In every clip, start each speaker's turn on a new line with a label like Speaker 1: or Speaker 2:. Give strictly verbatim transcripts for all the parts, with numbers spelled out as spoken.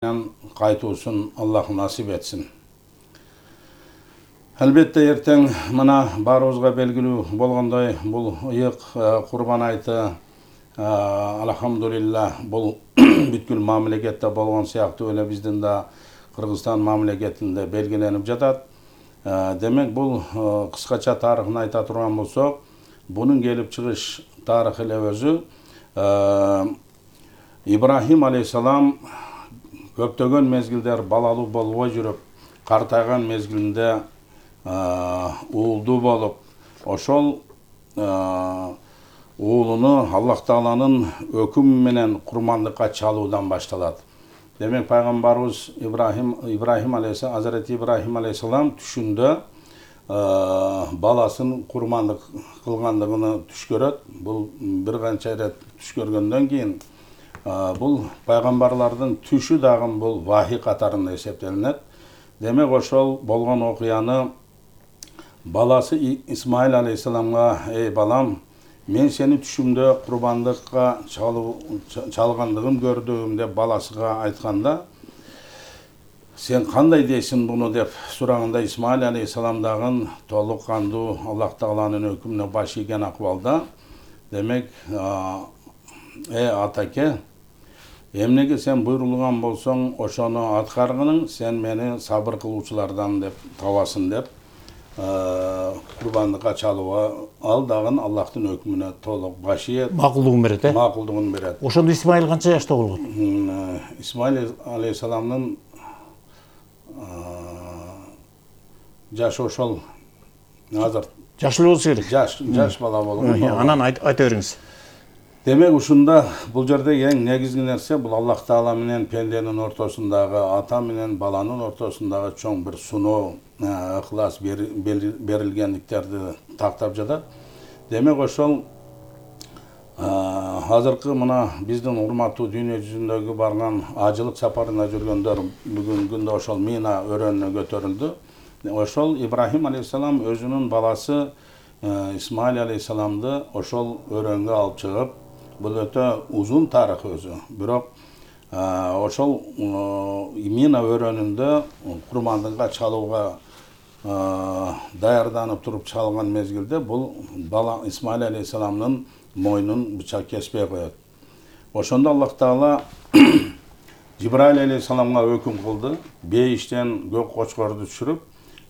Speaker 1: Кайтуусун Аллах насип этсин. Албетте эртең мына баарыбызга белгилүү болгондой бул ыйык Курбан айты алхамдулилла бул бүткүл мамлекетте болгон сыяктуу эле биздин да Кыргызстан мамлекетинде белгиленип жатат. Демек бул кыскача тарыхын айта турган болсок, бунун келип чыгыш тарыхы эле өзү Ибрахим алейхиссалам көптөгөн мезгилдер балалуу болбой жүрүп, картайган мезгилинде уулдуу болуп, ошол уулуну Аллах Тааланын өкүмү менен курмандыкка чалуудан башталат. Демек пайгамбарыбыз Ибрахим Ибрахим алейхиссалам, Азирети Ибрахим алейхиссалам түшүндө баласын курмандык кылгандыгын түш көрөт. Бул бир канча ирет түш көргөндөн кийин бул пайгамбарлардын түшү дагы бул вахий катарында эсептелинет. Демек ошол болгон окуяны баласы Исмаил алейхиссаламга: "Эй балам, мен сени түшүмдө курбандыкка чалгандыгын көрдүм" деп баласыга айтканда, "Сен кандай дейсиң буну?" деп сураганда, Исмаил алейхиссалам дагы толук кандуу Аллах Тааланын өкүмүнө баш ийген акыбалда: "Демек, э атаке, эмнеге сен буйрулган болсоң, ошону аткаргының, сен мени сабыр кылуучулардан деп табасың" деп курбандыкка чалууга ал дагы Аллахтын өкүмүнө толук баш ийет,
Speaker 2: макулдугун берет, э?
Speaker 1: Макулдугун берет.
Speaker 2: Ошондо Исмаил канча жашта болгон?
Speaker 1: Исмаил алейхиссаламдын жашы ошол азыр
Speaker 2: жаш эле болсо керек.
Speaker 1: Жаш, жаш бала болгон.
Speaker 2: Анан айта бериңиз.
Speaker 1: Демек ушунда бул жерде эң негизги нерсе бул Аллах Таала менен пенденин ортосундагы, ата менен баланын ортосундагы чоң бир суноо, ыхлас берилгендиктерди тактап жатат. Демек ошол азыркы мына биздин урматтуу дүйнө жүзүндөгү барган ажылык сапарына жүргөндөр бүгүнкү күндө ошол Мина өрөөнүнө көтөрүлдү. Ошол Ибрахим алейхиссалам өзүнүн баласы Исмаил алейхиссаламды ошол өрөөнгө алып чыгып, бул өтө узун тарых өзү. Бирок ошол Мина өрөөнүндө курмандыкка чалууга даярданып туруп чалган мезгилде бул бала Исмаил алейхиссаламдын мойнун бычак кеспей коет. Ошондо Аллах Таала Жибраил алейхиссаламга өкүм кылды. Бейиштен көк кочкорду түшүрүп,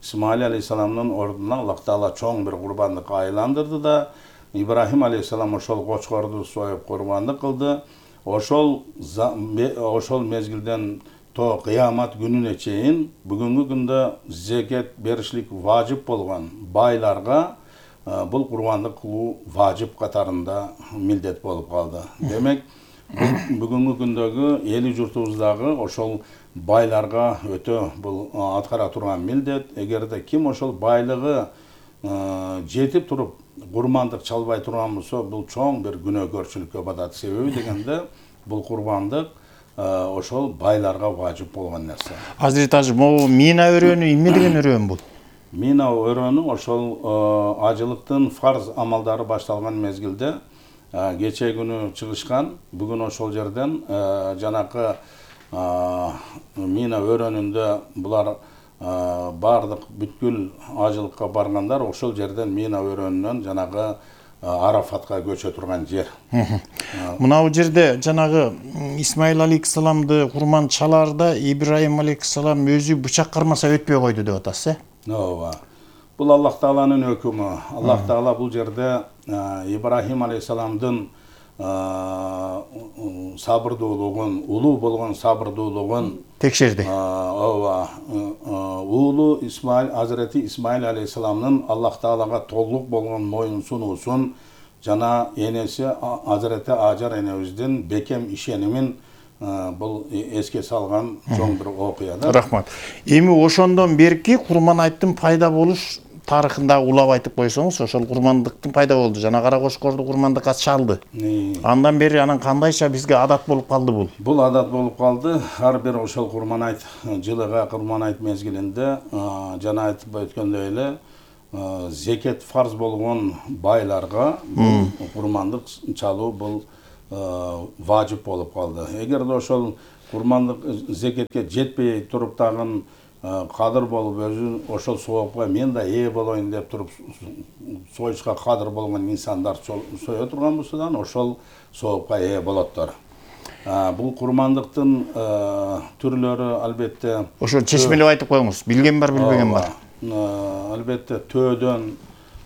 Speaker 1: Исмаил алейхиссаламдын ордуна Аллах Таала чоң бир курбандыкка айландырды да, Ибрахим алейхиссалам ошол кочкорду союп курбандык кылды. Ошол ошол мезгилден то кыямат күнүнө чейин бүгүнкү күндө зекет беришлик важип болгон байларга бул курбандык кылуу важип катарында милдет болуп калды. Демек, бүгүнкү күндөгү эли журтубуздагы ошол байларга өтө бул аткара турган милдет. Эгерде ким ошол байлыгы жетип туруп курмандык чалбай турган болсо, бул чоң бир күнөөкөрчүлүккө батат. Себеби дегенде бул курбандык ошол байларга важип болгон нерсе.
Speaker 2: Азирет ажы, могу Мина өрөөнү эмне деген өрөөн бул?
Speaker 1: Мина өрөөнү ошол ажылыктын фарз амалдары башталган мезгилде кече күнү чыгышкан. Бүгүн ошол жерден жанакы Мина өрөөнүндө булар бардык бүткүл ажылыкка баргандар ошол жерден Мина өрөөнүнөн жанагы Арафатка көчө турган жер.
Speaker 2: Мына бул жерде жанагы Исмаил алейхиссаламды курман чалаарда Ибрахим алейхиссалам өзү бычак кармаса өтпөй койду деп атасыз, э?
Speaker 1: Ооба. Бул Аллах Тааланын өкүмү. Аллах Таала бул жерде Ибрахим алейхиссаламдын сабырдуулугун, улуу болгон сабырдуулугун
Speaker 2: текшерди.
Speaker 1: Ооба. Уулу Исмаил, Азирети Исмаил алейхиссаламдын Аллах Таалага толук болгон моюн сунуусун жана энеси Азирети Ажар энебиздин бекем ишенимин бул эске салган чоң бир окуя да.
Speaker 2: Рахмат. Эми ошондон берки курман айттын пайда болуш тарыхында улап айтып койсоңуз, ошол курмандыктын пайда болду. Жана кара кочкорду курмандыкка чалды. Андан бери анан кандайча бизге адат болуп калды бул?
Speaker 1: Бул адат болуп калды. Ар бир ошол курман айт жылыга курман айт мезгилинде жана айтып өткөндөй эле зекет фарз болгон байларга курмандык чалуу бул важип болуп калды. Эгерде ошол курмандык зекетке жетпей туруп дагы кадыр болуп өзүн ошол соопко мен да ээ болоюн деп туруп союшка кадыр болгон инсандар сое турган болсо да ошол соопко ээ болоттор. Бул курмандыктын түрлөрү албетте
Speaker 2: ошо чечмелеп айтып коюңуз. Билген бар, билбеген бар.
Speaker 1: Албетте төөдөн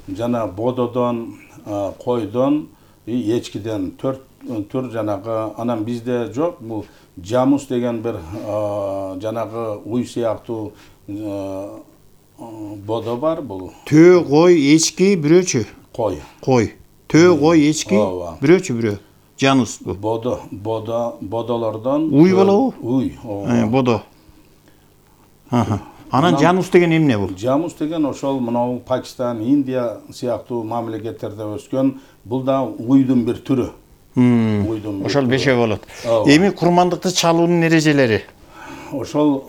Speaker 1: жана бододон, койдон, эчкиден төрт түр жанагы анан бизде жок. Бул жамус деген бир жанагы уй сыяктуу бодо бар. Бул
Speaker 2: төө, кой, эчки бирөөчү.
Speaker 1: Кой.
Speaker 2: Кой. Төө, кой, эчки бирөөчү бирөө. Жанус бу.
Speaker 1: Бодо, бодо, бодолордон
Speaker 2: уй болобу?
Speaker 1: Уй.
Speaker 2: Бодо. Анан жанус деген эмне бул?
Speaker 1: Жанус деген ошол мынау Пакистан, Индия сыяктуу мамлекеттерде өскөн, бул да уйдун бир түрү.
Speaker 2: Ошол бешөө болот. Эми курмандыкты чалуунун эрежелери?
Speaker 1: Ошол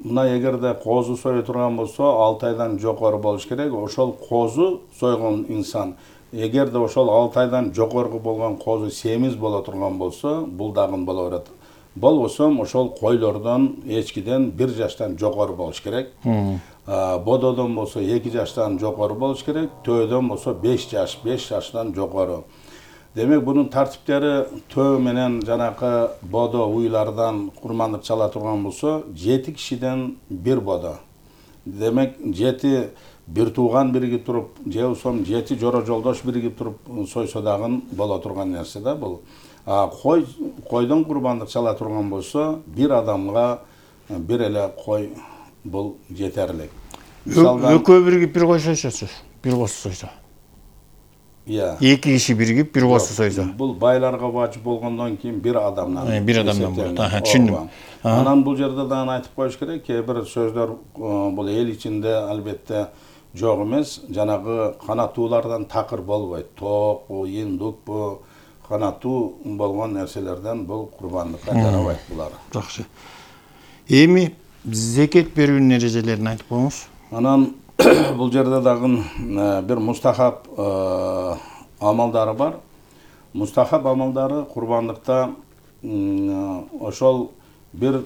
Speaker 1: мына эгерде козу сое турган болсо алты айдан жокору болуш керек. Ошол козу сойгон инсан эгерде ошол алты айдан жокору болгон козу семиз боло турган болсо, бул дагы боло берет. Болбосо ошол койлордон, эчкиден бир жаштан жокору болуш керек. Бододон болсо эки жаштан жокору болуш керек. Төөдөн болсо беш жаш, беш жаштан жокору. Демек бунун тартиптери төө менен жанакы бодо уйлардан курмандык чала турган болсо жети кишиден бир бодо. Демек жети бир тууган биригип туруп, же болсо жети жоро жолдош биригип туруп сойсо дагы боло турган нерсе да бул. Кой койдон курмандык чала турган болсо бир адамга бир эле кой бул жетерлик.
Speaker 2: Экөө биригип бир кой сойсочу, бир козу сойсо.
Speaker 1: Иә.
Speaker 2: Эки киши биригип бир козу сойсо.
Speaker 1: Бул байларга вачып болгондон кийин бир адамдан.
Speaker 2: Бир адамдан болот. Түшүндүм.
Speaker 1: Анан бул жерде дагы айтып коюш керек, кээ бир сөздөр бул эл ичинде албетте жок эмес. Жанагы канаттуулардан такыр болбойт. Тоокпу, индукпу, канаттуу болгон нерселерден бул курбандыкка жарабайт булар.
Speaker 2: Жакшы. Эми зекет берүүнүн эрежелерин айтып коюңуз.
Speaker 1: Анан бул жерде дагы бир мустахаб амалдары бар. Мустахаб амалдары курбандыкта ошол бир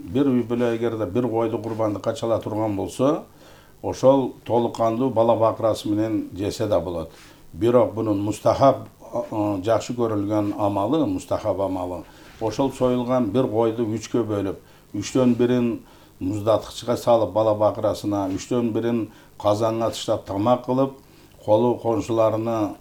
Speaker 1: бир үй бүлө эгерде бир койду курбандыкка чала турган болсо, ошол толук кандуу бала бакырасы менен жесе да болот. Бирок бунун мустахаб жакшы көрүлгөн амалы, мустахаб амалы. Ошол союлган бир койду үчкө бөлүп, үчтөн бирин муздаткычка салып бала бакырасына, үчтөн бирин казанга таштап тамак кылып, колу коншуларыны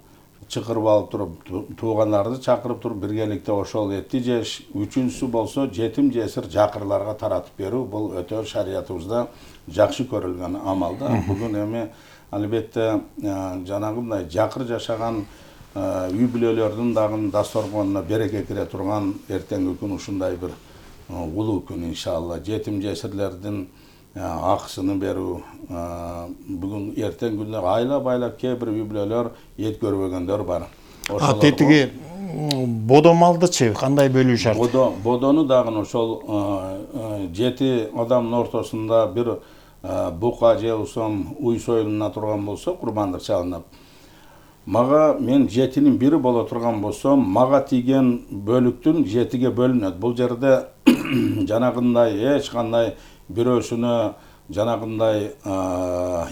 Speaker 1: чакырып алып туруп, туугандарды чакырып туруп биргеликте ошол этти жеш, үчүнчүсү болсо жетим жесир жакырларга таратып берүү. Бул өтө шариятыбызда жакшы көрүлгөн амал да. Бүгүн эми албетте жанагындай жакыр жашаган үй бүлөлөрдүн дагы дасторконуна береке кире турган эртеңки күн ушундай бир улуу күн иншалла. Жетим жесирлердин акысыны берүү, бүгүн эртең күндө айлап айлап кээ бир үй бүлөлөр эт көрбөгөндөр бар.
Speaker 2: А тетиги бодо малдычы кандай бөлүү шарт?
Speaker 1: Бодо бодону дагы ошол жети адамдын ортосунда бир бука же болсо уй союлуна турган болсо курбандык чалынып. Мага мен жетинин бири боло турган болсо, мага тийген бөлүктүн жетиге бөлүнөт. Бул жерде жанагындай эч кандай бирөөсүнө жанагындай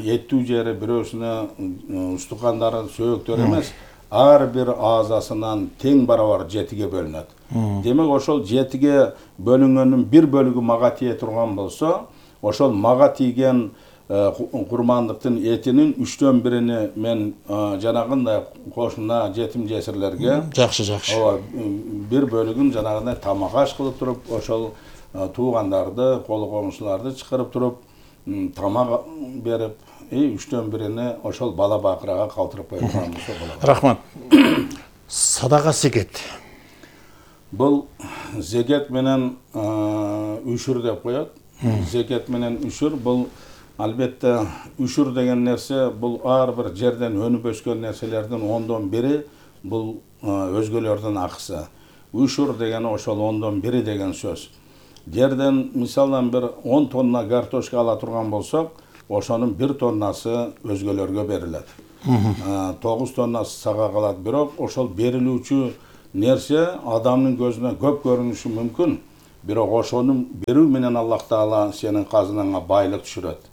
Speaker 1: эттүү жери, бирөөсүнө устукандары, сөөктөр эмес, ар бир аазасынан тең барабар жетиге бөлүнөт. Демек ошол жетиге бөлүнгөндүн бир бөлүгү мага тие турган болсо, ошол мага тийген курмандыктын этинин үчтөн бирини мен жанагындай кошуна жетим жесирлерге
Speaker 2: жакшы жакшы.
Speaker 1: Ооба, бир бөлүгүн жанагындай тамак аш кылып туруп, ошол туугандарды, колу комшуларды чакырып туруп, тамак берип, үчтөн бирини ошол бала бакырага калтырып коюп турган болсо болот.
Speaker 2: Рахмат. Садака зекет.
Speaker 1: Бул зекет менен үшүр деп коет. Зекет менен үшүр бул албетте үшүр деген нерсе бул ар бир жерден өнүп өскөн нерселердин ондон бири бул өзгөлөрдүн акысы. Үшүр деген ошол ондон бири деген сөз. Жерден мисалдан бир он тонна картошка ала турган болсок, ошонун бир тоннасы өзгөлөргө берилет. тогуз тоннасы сага калат. Бирок ошол берилүүчү нерсе адамдын көзүнө көп көрүнүшү мүмкүн. Бирок ошону берүү менен Аллах Таала сенин казынаңа байлык түшүрөт.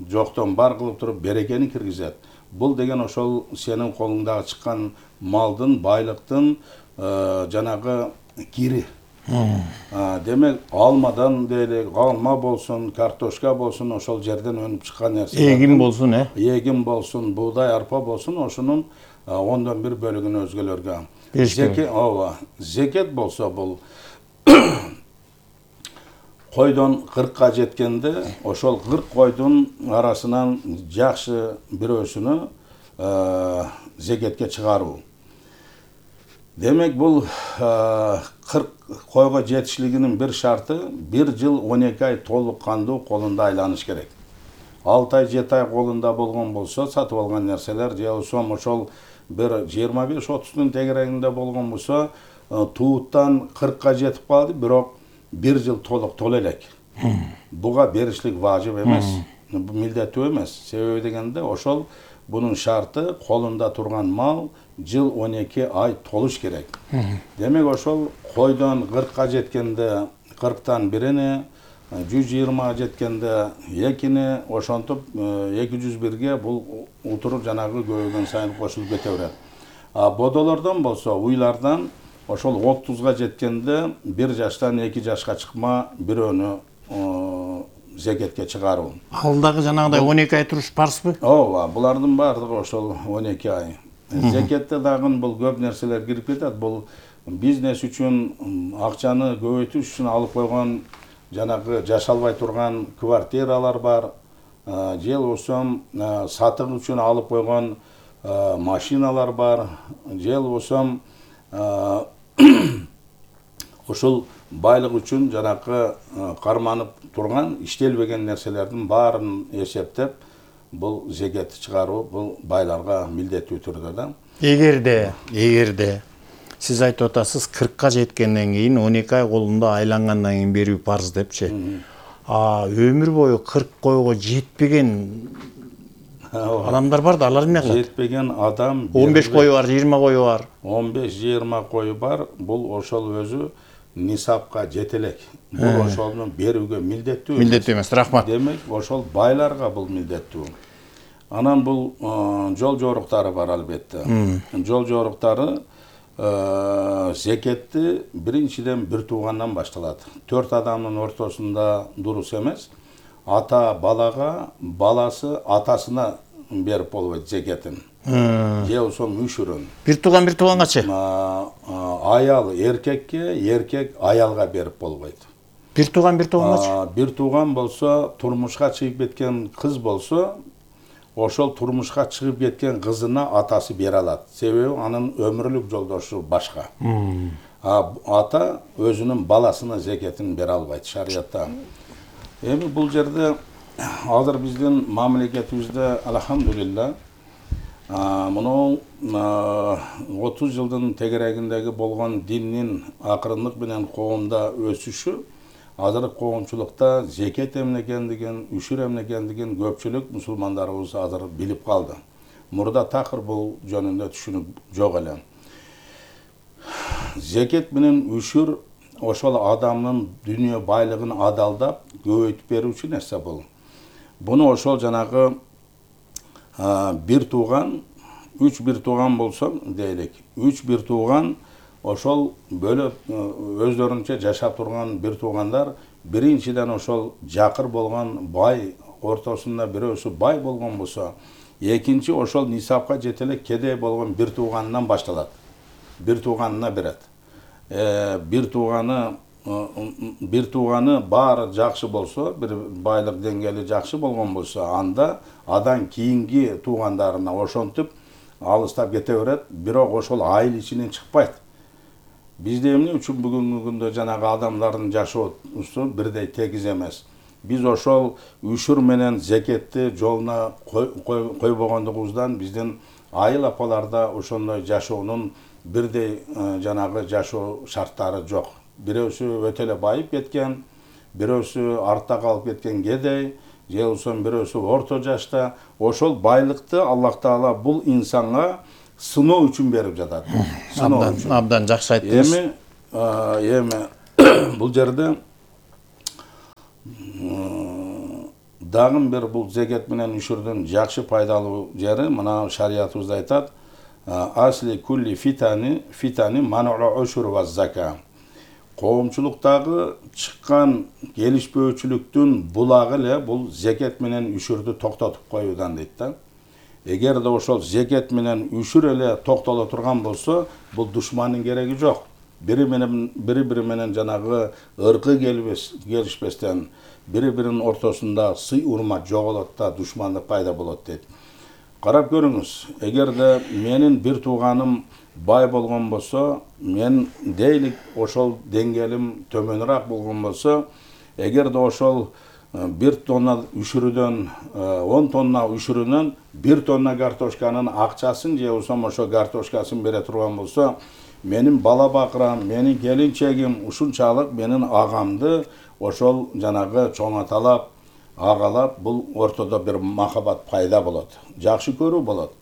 Speaker 1: Жоктон бар кылып туруп берекени киргизет. Бул деген ошол сенин колуңдагы чыккан малдын, байлыктын жанагы кири. Демек, алмадан дейлик, алма болсун, картошка болсун, ошол жерден өнүп чыккан нерсе.
Speaker 2: Эгин болсун, э?
Speaker 1: Эгин болсун, буудай, арпа болсун, ошонун ондон бир бөлүгүн өзгөлөргө. Зекет, ооба, зекет болсо бул койдон кыркка жеткенде, ошол кырк койдун арасынан жакшы бирөөсүнү зекетке чыгаруу. Демек, бул кырк койго жетишлигинин бир шарты бир жыл он эки ай толук кандуу колунда айланыш керек. алты ай, жети ай колунда болгон болсо, сатып алган нерселер, же болсо ошол бир жыйырма беш отуздун тегерегинде болгон болсо, тууттан кыркка жетип калды, бирок бир жыл толук толо элек. Буга беришлик важып эмес, милдеттүү эмес. Себеби дегенде ошол бунун шарты колунда турган мал жыл он эки ай толуш керек. Демек, ошол койдон кыркка жеткенде кырктан бирини, жүз жыйырмага жеткенде экини, ошонтип эки жүз бирге бул утуруп жанагы көбөйгөн сайын кошулуп кете берет. А бодолордон болсо, уйлардан ошол отузга жеткенде бир жаштан эки жашка чыкма бирөөнү зекетке чыгаруу.
Speaker 2: Ал дагы жанагыдай он эки ай туруш парзбы?
Speaker 1: Ооба, булардын баардыгы ошол он эки ай. Зекетте дагы бул көп нерселер кирип кетет. Бул бизнес үчүн, акчаны көбөйтүш үчүн алып койгон жанагы жашалбай турган квартиралар бар, же болсо сатык үчүн алып койгон машиналар бар, же болсо ошол байлык үчүн жанагы карманып турган иштелбеген нерселердин баарын эсептеп, бул зекетти чыгаруу бул байларга милдеттүү түрдө да.
Speaker 2: Эгерде, эгерде сиз айтып атасыз кыркка жеткенден кийин он эки ай колунда айлангандан кийин берүү парз депчи. А өмүр бою кырк койго жетпеген адамдар бар да, алар эмне кылат?
Speaker 1: Жетпеген адам
Speaker 2: он беш кою бар, жыйырма кою бар.
Speaker 1: он беш жыйырма кою бар. Бул ошол өзү нисапка жете элек. Бул ошону берүүгө милдеттүү.
Speaker 2: Милдеттүү эмес, рахмат.
Speaker 1: Демек, ошол байларга бул милдеттүү. Анан бул жол жоруктары бар албетте. Жол жоруктары зекетти биринчиден бир туугандан башталат. Төрт адамдын ортосунда дурус эмес. Ата балага, баласы атасына берип болбойт зекетин. Же болсо мүшүрүн.
Speaker 2: Бир тууган бир туугангачы?
Speaker 1: Аял эркекке, эркек аялга берип болбойт.
Speaker 2: Бир тууган бир туугангачы?
Speaker 1: Бир тууган болсо, турмушка чыгып кеткен кыз болсо, ошол турмушка чыгып кеткен кызына атасы бере алат. Себеби анын өмүрлүк жолдошу башка. А ата өзүнүн баласына зекетин бере албайт шариятта. Эми бул жерде азыр биздин мамлекетибизде алхамдулилла муну отуз жылдын тегерегиндеги болгон диндин акырындык менен коомдо өсүшү азыр коомчулукта зекет эмне экендигин, үшүр эмне экендигин көпчүлүк мусулмандарыбыз азыр билип калды. Мурда такыр бул жөнүндө түшүнүк жок эле. Зекет менен үшүр ошол адамдын дүйнө байлыгын адалдап көбөйтүп берүүчү нерсе бул. Буну ошол жанагы бир тууган, үч бир тууган болсо дейлик, үч бир тууган ошол бөлөп өздөрүнчө жашап турган бир туугандар биринчиден ошол жакыр болгон бай ортосунда бирөөсү бай болгон болсо, экинчи ошол нисапка жете элек кедей болгон бир тууганынан башталат. Бир тууганына берет. Бир тууганы бир тууганы баары жакшы болсо, бир байлык деңгээли жакшы болгон болсо, анда адан кийинки туугандарына ошентип алыстап кете берет, бирок ошол айыл ичинен чыкпайт. Бизде эмне үчүн бүгүнкү күндө жанагы адамдардын жашоосу бирдей тегиз эмес. Биз ошол үшүр менен зекетти жолуна койбогондугубуздан биздин айыл апаларда ошондой жашоонун бирдей жанагы жашоо шарттары жок. Бирөөсү өтө эле байып кеткен, бирөөсү артта калып кеткен кедей, же болсо бирөөсү орто жашта. Ошол байлыкты Аллах Таала бул инсанга сыноо үчүн берип жатат.
Speaker 2: Абдан, абдан жакшы айттыңыз.
Speaker 1: Эми, эми бул жерде Дагы бир бул зекет менен үшүрдүн жакшы пайдалуу жери мына шариятыбызда айтат: асли кулли фитани фитани ману'у үшүр ва зака. Коомчулуктагы чыккан келишпөөчүлүктүн булагы эле бул зекет менен үшүрдү токтотуп коюудан дейт да. Эгерде ошол зекет менен үшүр эле токтоло турган болсо, бул душмандын кереги жок. Бири менен бири бири менен жанагы ыркы келишпестен, бири биринин ортосунда сый урмат жоголот да, душмандык пайда болот дейт. Карап көрүңүз, эгерде менин бир тууганым бай болгон болсо, мен дейлик ошол деңгээлим төмөнүрөөк болгон болсо, эгерде ошол бир тонна үшүрүдөн, он тонна үшүрүнөн бир тонна картошканын акчасын же болсо ошо картошкасын бере турган болсо, менин бала бакырам, менин келинчегим ушунчалык менин агамды ошол жанагы чоңоталап, агалап, бул ортодо бир махабат пайда болот. Жакшы көрүү болот.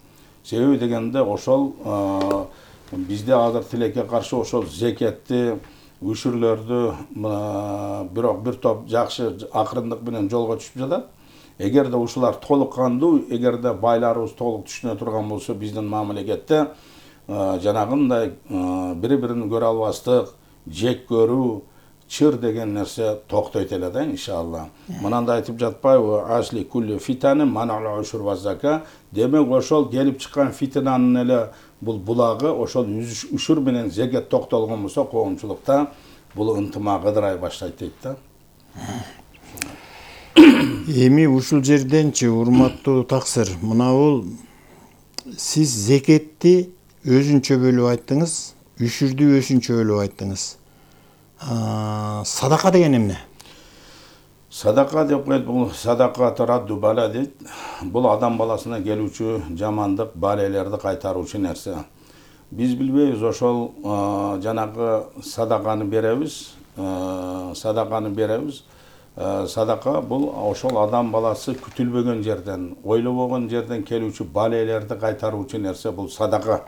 Speaker 1: Себеби дегенде ошол бизде азыр тилекке каршы ошол зекетти, үшүрлөрдү бирок бир топ жакшы акырындык менен жолго түшүп жатат. Эгерде ушулар толук кандуу, эгерде байларыбыз толук түшүнө турган болсо, биздин мамлекетте жанагындай бири-бирин көрө албастык, жек көрүү, чыр деген нерсе токтойт эле да, иншалла. Мынанда айтып жатпайбы? Асли кулли фитани ману'у үшүр ва зака. Демек ошол келип чыккан фитнанын эле бул булагы ошол үшүр менен зекет токтолгон болсо, коомчулукта бул ынтымак ыдырай баштайт дейт да.
Speaker 2: Эми ушул жерденчи урматтуу таксыр, мына бул сиз зекетти өзүнчө бөлүп айттыңыз, үшүрдү өзүнчө бөлүп айттыңыз. Садака деген эмне?
Speaker 1: Садака деп коет, бул садака тарадду бала дейт. Бул адам баласына келүүчү жамандык, балелерди кайтаруучу нерсе. Биз билбейбиз, ошол жанагы садаканы беребиз, садаканы беребиз. Садака бул ошол адам баласы күтүлбөгөн жерден, ойлобогон жерден келүүчү балелерди кайтаруучу нерсе, бул садака.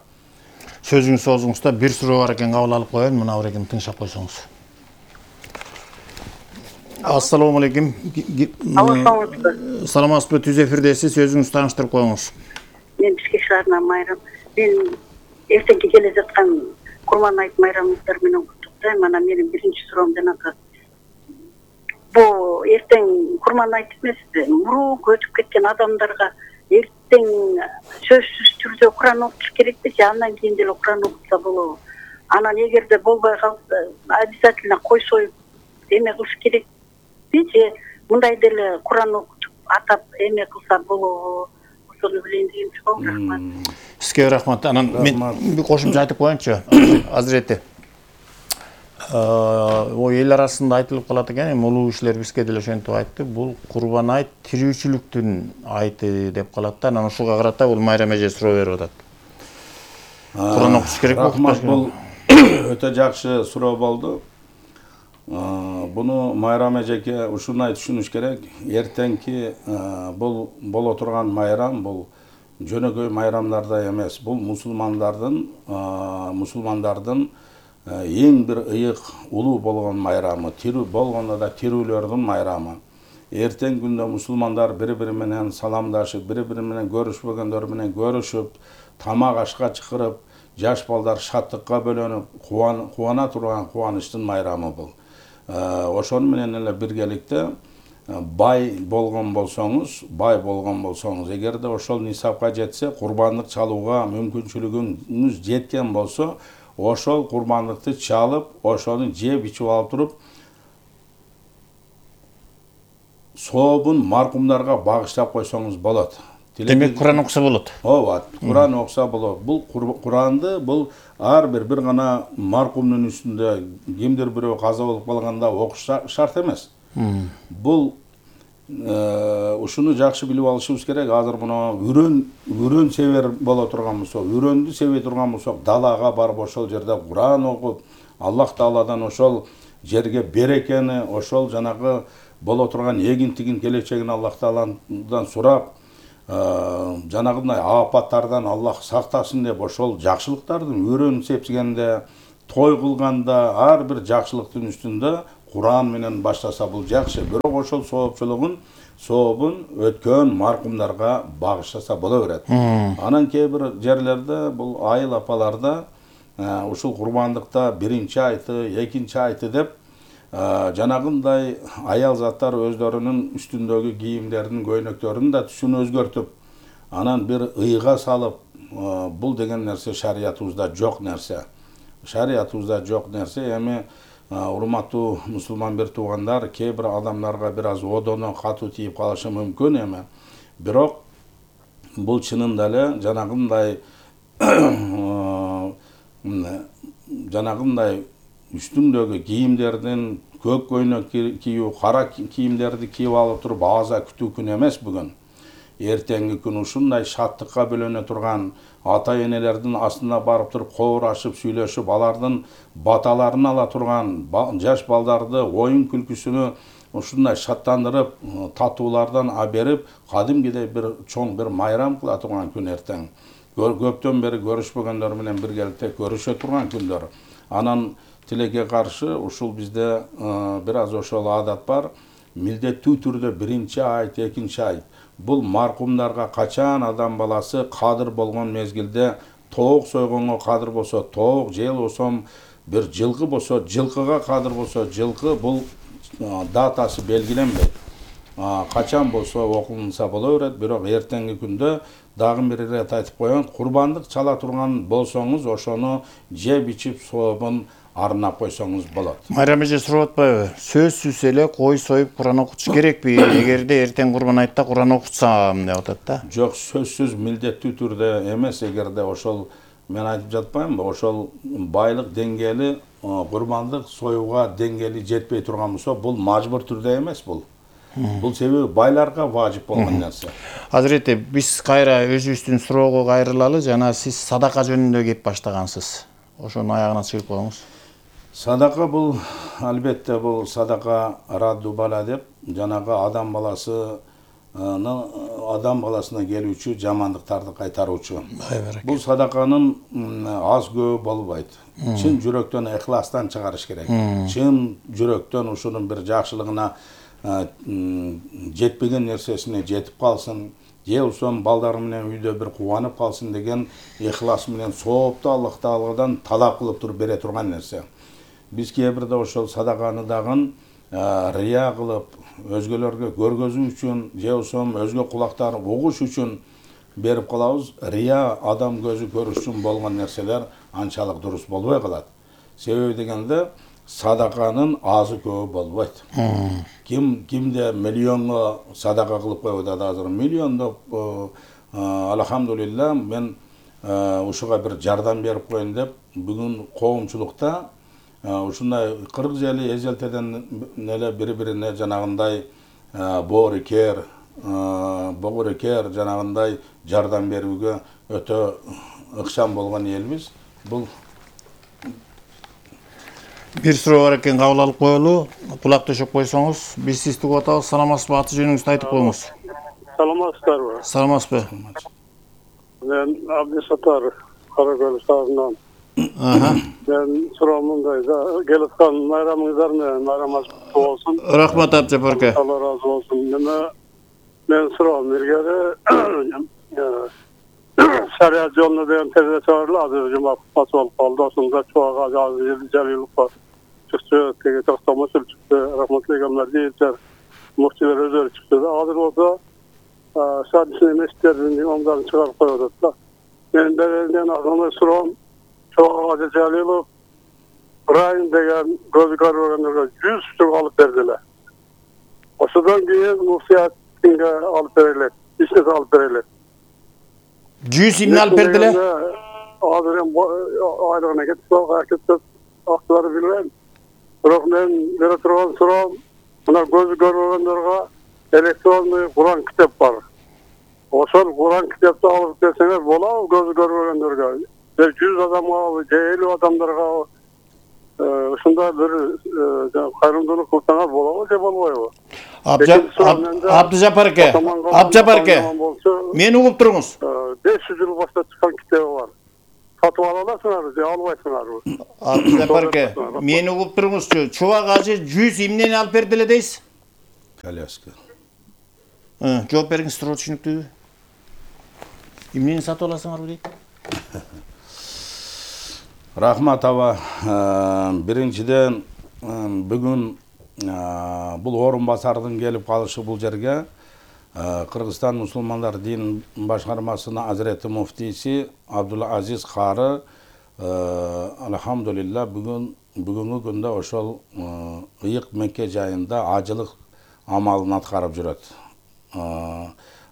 Speaker 2: Сөзүңүз соозуңузда бир суроо бар экен, кабыл алып коеюн, мына бир экен тыңшап койсоңуз. Ассаламу алейкум. Саламатсызбы, түз эфирдесиз, өзүңүз тааныштырып коюңуз.
Speaker 3: Мен Бишкек шаарынан Майрам. Мен эртеңки келе жаткан Курман айт майрамыңыздар менен куттуктайм. Анан менин биринчи суроом жанагы бул эртең Курман айт эмеспи, мурунку өтүп кеткен адамдарга эртең сөзсүз түрдө Куран окуш керекпи же андан кийин деле Куран окутса болобу? Анан эгерде болбой калса, обязательно кой союп эме кылыш керек. Же мындай деле Куран окутуп атап эме кылса болобу? Ошону билейин деген суроо. Рахмат.
Speaker 2: Сизге рахмат. Анан мен бир кошумча айтып коеюнчу, Азирети. Ой, эл арасында айтылып калат экен, эми улуу кишилер бизге деле ошентип айтты. Бул Курбан айт тирүүчүлүктүн айты деп калат да. Анан ушуга карата бул Майрам эже суроо берип атат. Куран окуш керек болуп.
Speaker 1: Бул өтө жакшы суроо болду. Буну Майрам эжеке ушуну түшүнүш керек. Эртеңки бул боло турган майрам бул жөнөкөй майрамдарда эмес. Бул мусулмандардын мусулмандардын эң бир ыйык улуу болгон майрамы, тирүү болгондо да тирүүлөрдүн майрамы. Эртең күндө мусулмандар бири-бири менен саламдашып, бири-бири менен көрүшпөгөндөр менен көрүшүп, тамак ашка чакырып, жаш балдар шаттыкка бөлөнүп, кубана турган кубанычтын майрамы бул. Ошону менен эле биргеликте бай болгон болсоңуз, бай болгон болсоңуз, эгерде ошол нисапка жетсе, курбандык чалууга мүмкүнчүлүгүңүз жеткен болсо, ошол курбандыкты чалып, ошону жеп ичип алып туруп, сообун маркумдарга багыштап койсоңуз болот.
Speaker 2: Демек Куран окуса болот.
Speaker 1: Ооба, Куран окуса болот. Бул Куранды бул ар бир бир гана маркумдун үстүндө кимдир бирөө каза болуп калганда окуш шарт эмес. Бул ушуну жакшы билип алышыбыз керек. Азыр мына үрөн үрөн себер боло турган болсо, үрөндү себе турган болсок, далага барып ошол жерде Куран окуп, Аллах Тааладан ошол жерге берекени, ошол жанагы боло турган эгин-тигин келечегин Аллах Тааладан сурап, жанагындай апаттардан Аллах сактасын деп ошол жакшылыктардын үрөн сепсигенде, той кылганда, ар бир жакшылыктын үстүндө Куран менен баштаса бул жакшы. Бирок ошол соопчулугун, сообун өткөн маркумдарга багышласа боло берет. Анан кээ бир жерлерде бул айыл апаларда ушул курмандыкта биринчи айты, экинчи айты деп жанагындай аял заттар өздөрүнүн үстүндөгү кийимдеринин, көйнөктөрүнүн да түсүн өзгөртүп, анан бир ыйга салып, бул деген нерсе шариятыбызда жок нерсе. Шариятыбызда жок нерсе. Эми урматтуу мусулман бир туугандар, кээ бир адамдарга бир аз одоно катуу тийип калышы мүмкүн эми. Бирок бул чынында эле жанагындай жанагындай үстүндөгү кийимдердин көк көйнөк кийүү, кара кийимдерди кийип алып туруп аза күтүү күн эмес бүгүн. Эртеңки күн ушундай шаттыкка бөлөнө турган ата энелердин астына барып туруп коорашып сүйлөшүп, алардын баталарын ала турган жаш балдарды оюн күлкүсүнө ушундай шаттандырып, татуулардан аберип, кадимгидей бир чоң бир майрам кыла турган күн эртең. Көптөн бери көрүшпөгөндөр менен биргеликте көрүшө турган күндөр. Анан тилекке каршы ушул бизде бир аз ошол адат бар. Милдеттүү түрдө биринчи айт, экинчи айт. Бул маркумдарга качан адам баласы кадыр болгон мезгилде тоок сойгонго кадыр болсо тоок, же болсом бир жылкы болсо жылкыга кадыр болсо жылкы, бул датасы белгиленбейт. Качан болсо окулунса боло берет, бирок эртеңки күндө дагы бир ирет айтып коеюн, курбандык чала турган болсоңуз ошону жеп ичип сообун арнап койсоңуз болот.
Speaker 2: Майрам эже сурап атпайбы? Сөзсүз эле кой союп Куран окутуш керекпи? Эгерде эртең Курбан айтта Куран окутсам деп атат да.
Speaker 1: Жок, сөзсүз милдеттүү түрдө эмес. Эгерде ошол мен айтып жатпаймынбы, ошол байлык деңгээли, курбандык союуга деңгээли жетпей турган болсо, бул мажбур түрдө эмес бул. Бул себеби байларга важип болгон нерсе.
Speaker 2: Азирети, биз кайра өзүбүздүн суроого кайрылалы. Жана сиз садака жөнүндө кеп баштагансыз. Ошонун аягына чыгып коюңуз.
Speaker 1: Садака бул, албетте бул садака радду бала деп, жанагы адам баласы адам баласына келүүчү жамандыктарды кайтаруучу. Бул садаканын аз көбү болбойт. Чын жүрөктөн, ыхластан чыгарыш керек. Чын жүрөктөн ушунун бир жакшылыгына жетпеген нерсесине жетип калсын, же болсом балдары менен үйдө бир кубанып калсын деген ыхлас менен соопту Аллах Тааладан талап кылып туруп бере турган нерсе. Биз кээ бирде ошол садаканы дагы рия кылып, өзгөлөргө көргөзүү үчүн, же болсом өзгө кулактар угуш үчүн берип калабыз. Рия адам көзү көрүш үчүн болгон нерселер анчалык дурус болбой калат. Себеби дегенде садаканын азы көбү болбойт. Ким кимде миллионго садака кылып коюп атат азыр. Миллиондоп, алхамдулилла, мен ушуга бир жардам берип коеюн деп, бүгүн коомчулукта ушундай кырк жели эзелтеден эле бири-бирине жанагындай боорекер, богорекер жанагындай жардам берүүгө өтө ыкчам болгон элбиз. Бул
Speaker 2: бир суроо бар экен, кабыл алып коелу. Кулак төшөп койсоңуз, биз сизди угуп атабыз. Саламатсызбы? Аты жөнүңүздү айтып коюңуз.
Speaker 4: Саламатсыздарбы?
Speaker 2: Саламатсызбы?
Speaker 4: Мен Абдисаттар, Каракөл шаарынан. Мен суроом мындай, келип аткан майрамыңыздар менен майрамыңыз куттуу болсун.
Speaker 2: Рахмат Абдижапар ака.
Speaker 4: Алла разы болсун. Мен суроом илгери шарият жолуна деген передача бар эле, азыр жума кутмасы болуп калды. Ошондо чуага Жалиловго чыкты, теге токтомосул чыкты, рахматтуу Гамлардиевдер, муфтилер өздөрү чыкты да. Азыр болсо шадисин эместердин имамдарын чыгарып коюп атат да. Мен беренден азыркы суроом, Чуага Жалилов Райын деген көзү көрбөгөндөргө жүз штук алып бердилер. Ошодон кийин муфтиятинге алып берилет, ишке алып берилет.
Speaker 2: жүз имне алып бердилер?
Speaker 4: Азыр эми айлыгына кетип кетип актылары билбейм. Бирок мен бере турган суроом, мына көзү көрбөгөндөргө электронный Куран китеп бар. Ошол Куран китепти алып берсеңер болобу көзү көрбөгөндөргө? жүз адамга, же элүү адамдарга ушундай бир кайрымдуулук кылсаңар болобу же болбойбу?
Speaker 2: Абдижапар ака, Абдижапар ака, мени угуп туруңуз.
Speaker 4: беш жүз жыл баштап чыккан китеби бар. сатып ала аласыңарбы же албайсыңарбы?
Speaker 2: Абдыжапарке, мени угуп туруңузчу. Чубак ажы жүз эмнени алып берди эле дейсиз?
Speaker 1: Коляска.
Speaker 2: Жооп бергиңиз, туруп түшүнүктүүбү? Эмнени сатып аласыңарбы дейт?
Speaker 1: Рахмат аба. Биринчиден бүгүн бул орун басардын келип калышы бул жерге Кыргызстан мусулмандар дин башкармасынын Азирети муфтийси Абдулла Азиз Кары алхамдулилла бүгүн бүгүнкү күндө ошол ыйык Мекке жайында ажылык амалын аткарып жүрөт.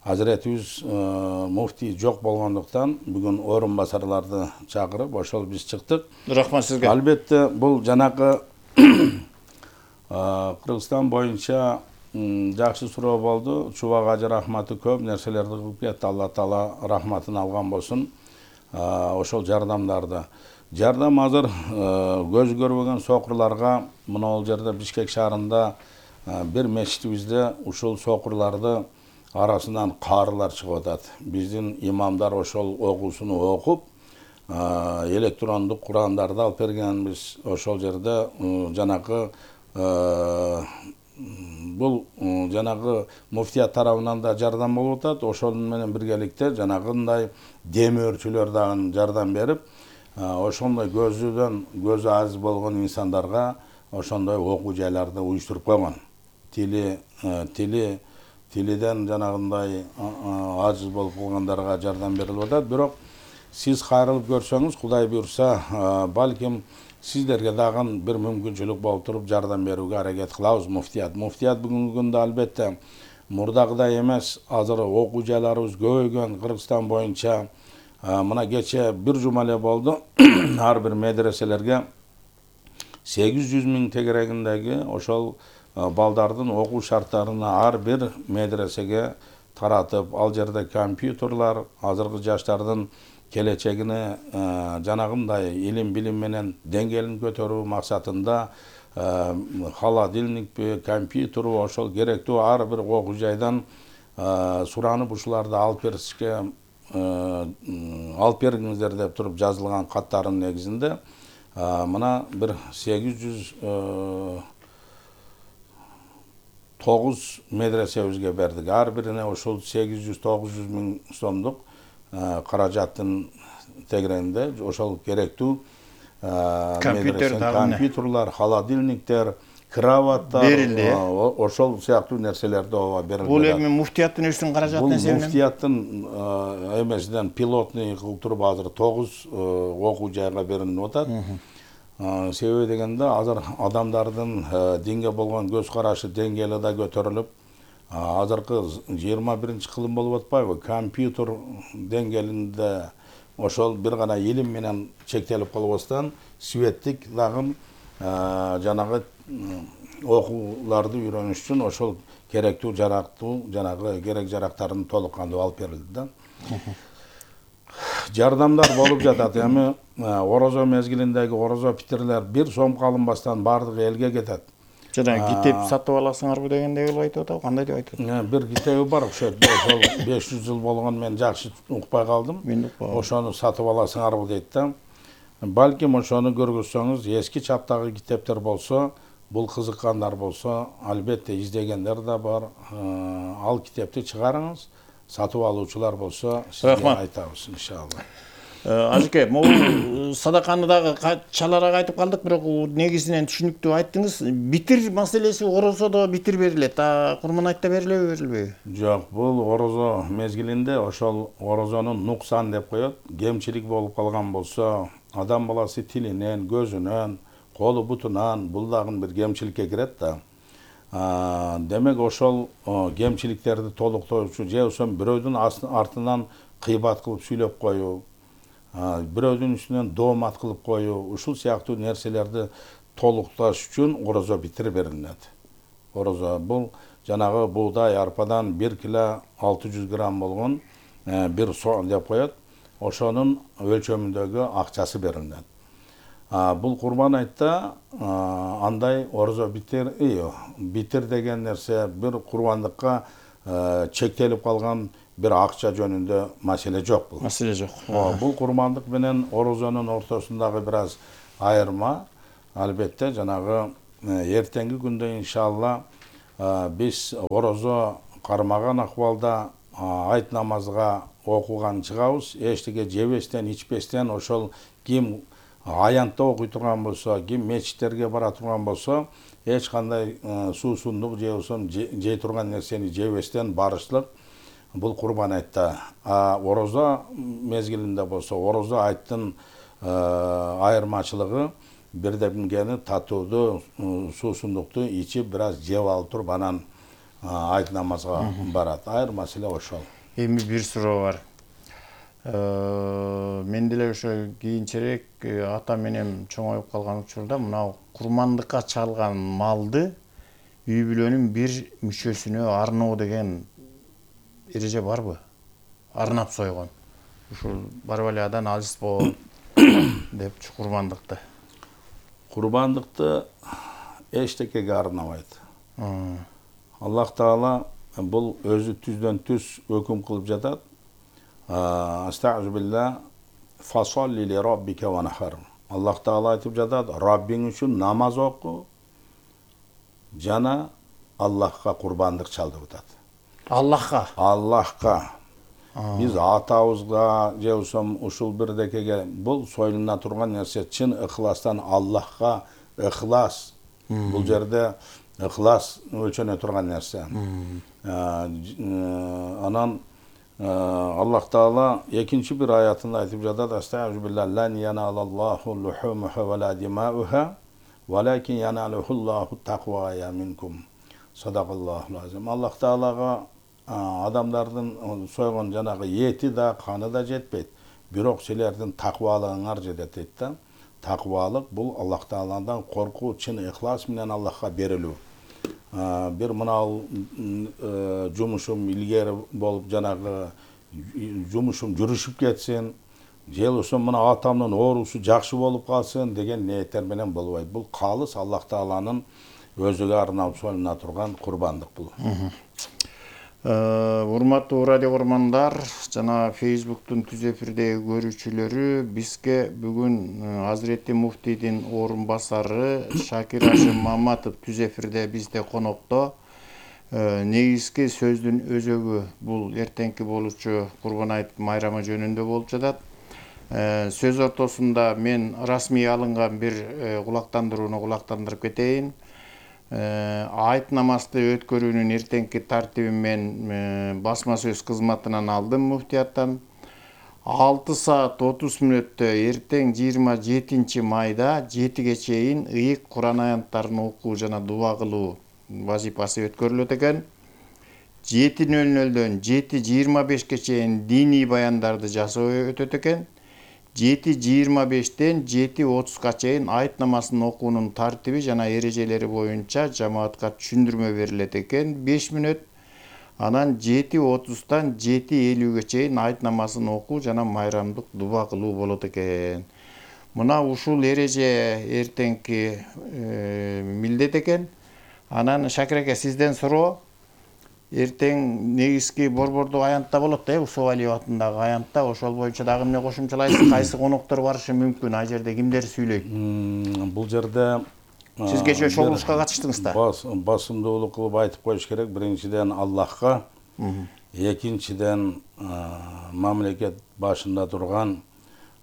Speaker 1: Азиретибиз муфтий жок болгондуктан бүгүн орун басарларды чакырып ошол биз чыктык.
Speaker 2: Рахмат сизге.
Speaker 1: Албетте бул жанагы Кыргызстан боюнча жакшы суроо болду. Чубак ажы рахматы көп нерселерди кылып кетти. Алла таала рахматын алган болсун. Ошол жардамдарды. Жардам азыр көз көрбөгөн сокурларга мына бул жерде Бишкек шаарында бир мечитибизде ушул сокурларды арасынан каарылар чыгып атат. Биздин имамдар ошол окуусуну окуп, электрондук Курандарды алып бергенбиз. Ошол жерде жанагы бул жанагы муфтият тарабынан да жардам болуп атат. Ошол менен биргеликте жанагындай демөөрчүлөр дагы жардам берип, ошондой көзүдөн көзү аз болгон инсандарга ошондой окуу жайларды уюштуруп койгон. Тили тили тилиден жанагындай ажыз болуп калгандарга жардам берилип атат. Бирок сиз кайрылып көрсөңүз, Кудай буйрса, балким сиздерге дагы бир мүмкүнчүлүк болуп туруп жардам берүүгө аракет кылабыз муфтият. Муфтият бүгүнкү күндө албетте мурдагыдай эмес, азыр окуу жайларыбыз көбөйгөн Кыргызстан боюнча. Мына кече бир жума эле болду. Ар бир медреселерге сегиз жүз миң тегерегиндеги ошол балдардын окуу шарттарына ар бир медресеге таратып, ал жерде компьютерлар, азыркы жаштардын келечегине жанагындай илим билим менен деңгээлин көтөрүү максатында холодильникпи, компьютерби ошол керектүү ар бир окуу жайдан суранып ушуларды алып беришке алып бериңиздер деп туруп жазылган каттардын негизинде мына бир сегиз жүз тогуз медресебизге бердик. Ар бирине ошол сегиз жүз тогуз жүз миң сомдук каражаттын тегерегинде ошол керектүү компьютерлар, холодильниктер, кроваттар,
Speaker 2: берилди.
Speaker 1: Ошол сыяктуу нерселерди ооба берилди.
Speaker 2: Бул эми муфтияттын өзүнүн каражатынан
Speaker 1: эсебинен? Бул муфтияттын эмесинен пилотный кылып туруп азыр тогуз окуу жайга берилип атат. Себеби дегенде азыр адамдардын динге болгон көз карашы деңгээли да көтөрүлүп, азыркы жыйырма биринчи кылым болуп атпайбы? Компьютер деңгээлинде ошол бир гана илим менен чектелип калбастан, светтик дагы жанагы окууларды үйрөнүш үчүн ошол керектүү жарактуу жанагы керек жарактарын толук кандуу алып берилди да. Жардамдар болуп жатат. Эми орозо мезгилиндеги орозо питирлер бир сомго алынбастан баардыгы элге кетет.
Speaker 2: Жана китеп сатып аласыңарбы дегендей болуп айтып атабы, кандай деп айтып атат?
Speaker 1: Бир китеби бар, ошол беш жүз жыл болгон, мен жакшы укпай калдым. Ошону сатып аласыңарбы дейт да. Балким ошону көргүзсөңүз, эски чаптагы китептер болсо, бул кызыккандар болсо, албетте издегендер да бар. Ал китепти чыгарыңыз. Сатып алуучулар болсо, сизге айтабыз иншалла.
Speaker 2: Ажыке, могу садаканы дагы чалараак айтып калдык, бирок негизинен түшүнүктүү айттыңыз. Битир маселеси орозодо битир берилет. А Курман айтта берилеби, берилбейби?
Speaker 1: Жок, бул орозо мезгилинде ошол орозонун нуксан деп коет. Кемчилик болуп калган болсо, адам баласы тилинен, көзүнөн, колу бутунан бул дагы бир кемчиликке кирет да. Демек ошол кемчиликтерди толуктоочу же ошо бирөөдүн артынан кыйбат кылып сүйлөп коюу, бирөөдүн үстүнөн доомат кылып коюу, ушул сыяктуу нерселерди толукташ үчүн орозо битир берилет. Орозо бул жанагы буудай арпадан бир кило алты жүз грамм болгон бир сон деп коет. Ошонун өлчөмүндөгү акчасы берилет. Бул Курман айтта андай орозо битир, битир деген нерсе бир курбандыкка чектелип калган бир акча жөнүндө маселе жок бул.
Speaker 2: Маселе жок.
Speaker 1: Бул курмандык менен орозонун ортосундагы бир аз айырма. Албетте жанагы эртеңки күндө иншалла биз орозо кармаган акыбалда айт намазга окуган чыгабыз. Эчтеке жебестен, ичпестен, ошол ким аянтта окуй турган болсо, ким мечиттерге бара турган болсо, эч кандай суусундук же болсо жей турган нерсени жебестен барышлык бул курбан айтта. А орозо мезгилинде болсо, орозо айттын айырмачылыгы бирдемгени татууду, суусундукту ичип бир аз жеп алып туруп анан айт намазга барат. Айыр маселе ошол.
Speaker 2: Эми бир суроо бар. Мен деле ошо кийинчерээк ата менен чоңоюп калган учурда мына курмандыкка чалган малды үй бүлөнүн бир мүчөсүнө арноо деген эреже барбы? Арнап сойгон. Ушул барып эле адан алыс болот депчи курмандыкты.
Speaker 1: Курбандыкты эчтекеге арнабайт. Аллах Таала бул өзү түздөн түз өкүм кылып жатат. Астагфиру билла фасолли ли раббика ва нахар. Аллах Таала айтып жатат, Раббиң үчүн намаз оку, жана Аллахка курбандык чал деп атат.
Speaker 2: Аллахка.
Speaker 1: Аллахка. Биз атабызга же болсо ушул бирдекеге бул союлуна турган нерсе чын ыхластан Аллахка ыхлас. Бул жерде ыхлас өлчөнө турган нерсе. Анан Аллах Таала экинчи бир аятында айтып жатат, астагфиру билла лан яналаллаху лухумуха ва ла димауха валакин яналухуллаху тaqвая минкум. Садакаллаху азим. Аллах Таалага адамдардын сойгон жанагы эти да, каны да жетпейт. Бирок силердин таквалыгыңар жетет дейт да. Таквалык бул Аллах Тааладан коркуу, чын ыхлас менен Аллахка берилүү. Бир мынау жумушум илгери болуп жанагы жумушум жүрүшүп кетсин, же болсо мына атамдын оорусу жакшы болуп калсын деген ниеттер менен болбойт. Бул калыс Аллах Тааланын өзүгө арнап союлуна турган курбандык бул.
Speaker 2: Урматтуу радио көрөрмандар, жана Facebook'тун түз эфирдеги көрүүчүлөрү, бизге бүгүн Азиретти муфтийдин орун басары Шакир Ашим Маматов түз эфирде бизде конокто. Негизги сөздүн өзөгү бул эртеңки болуучу Курбан айт майрамы жөнүндө болуп жатат. Сөз ортосунда мен расмий алынган бир кулактандырууну кулактандырып кетейин. Айт намазды өткөрүүнүн эртеңки тартибин мен басма сөз кызматынан алдым муфтияттан. алты саат отуз мүнөттө эртең жыйырма жетинчи майда жетиге чейин ыйык Куран аянттарын окуу жана дуба кылуу вазипасы өткөрүлөт экен. жети нөл нөлдөн жети жыйырма бешке чейин диний баяндарды жасоо өтөт экен. жети жыйырма бештен жети отузга чейин айт намазын окуунун тартиби жана эрежелери боюнча жамаатка түшүндүрмө берилет экен беш мүнөт. Анан жети отуздан жети элүүгө чейин айт намазын окуу жана майрамдык дуба кылуу болот экен. Мына ушул эреже эртеңки милдет экен. Анан Шакир аке, сизден суроо. Эртең негизги борбордук аянтта болот да, Усуп Алиев атындагы аянтта. Ошол боюнча дагы эмне кошумчалайсыз? Кайсы коноктор барышы мүмкүн? Ай жерде кимдер сүйлөйт?
Speaker 1: Бул жерде
Speaker 2: сиз кечээ чогулушка катыштыңыз да.
Speaker 1: Басымдуулук кылып айтып коюш керек. Биринчиден Аллахка, экинчиден мамлекет башында турган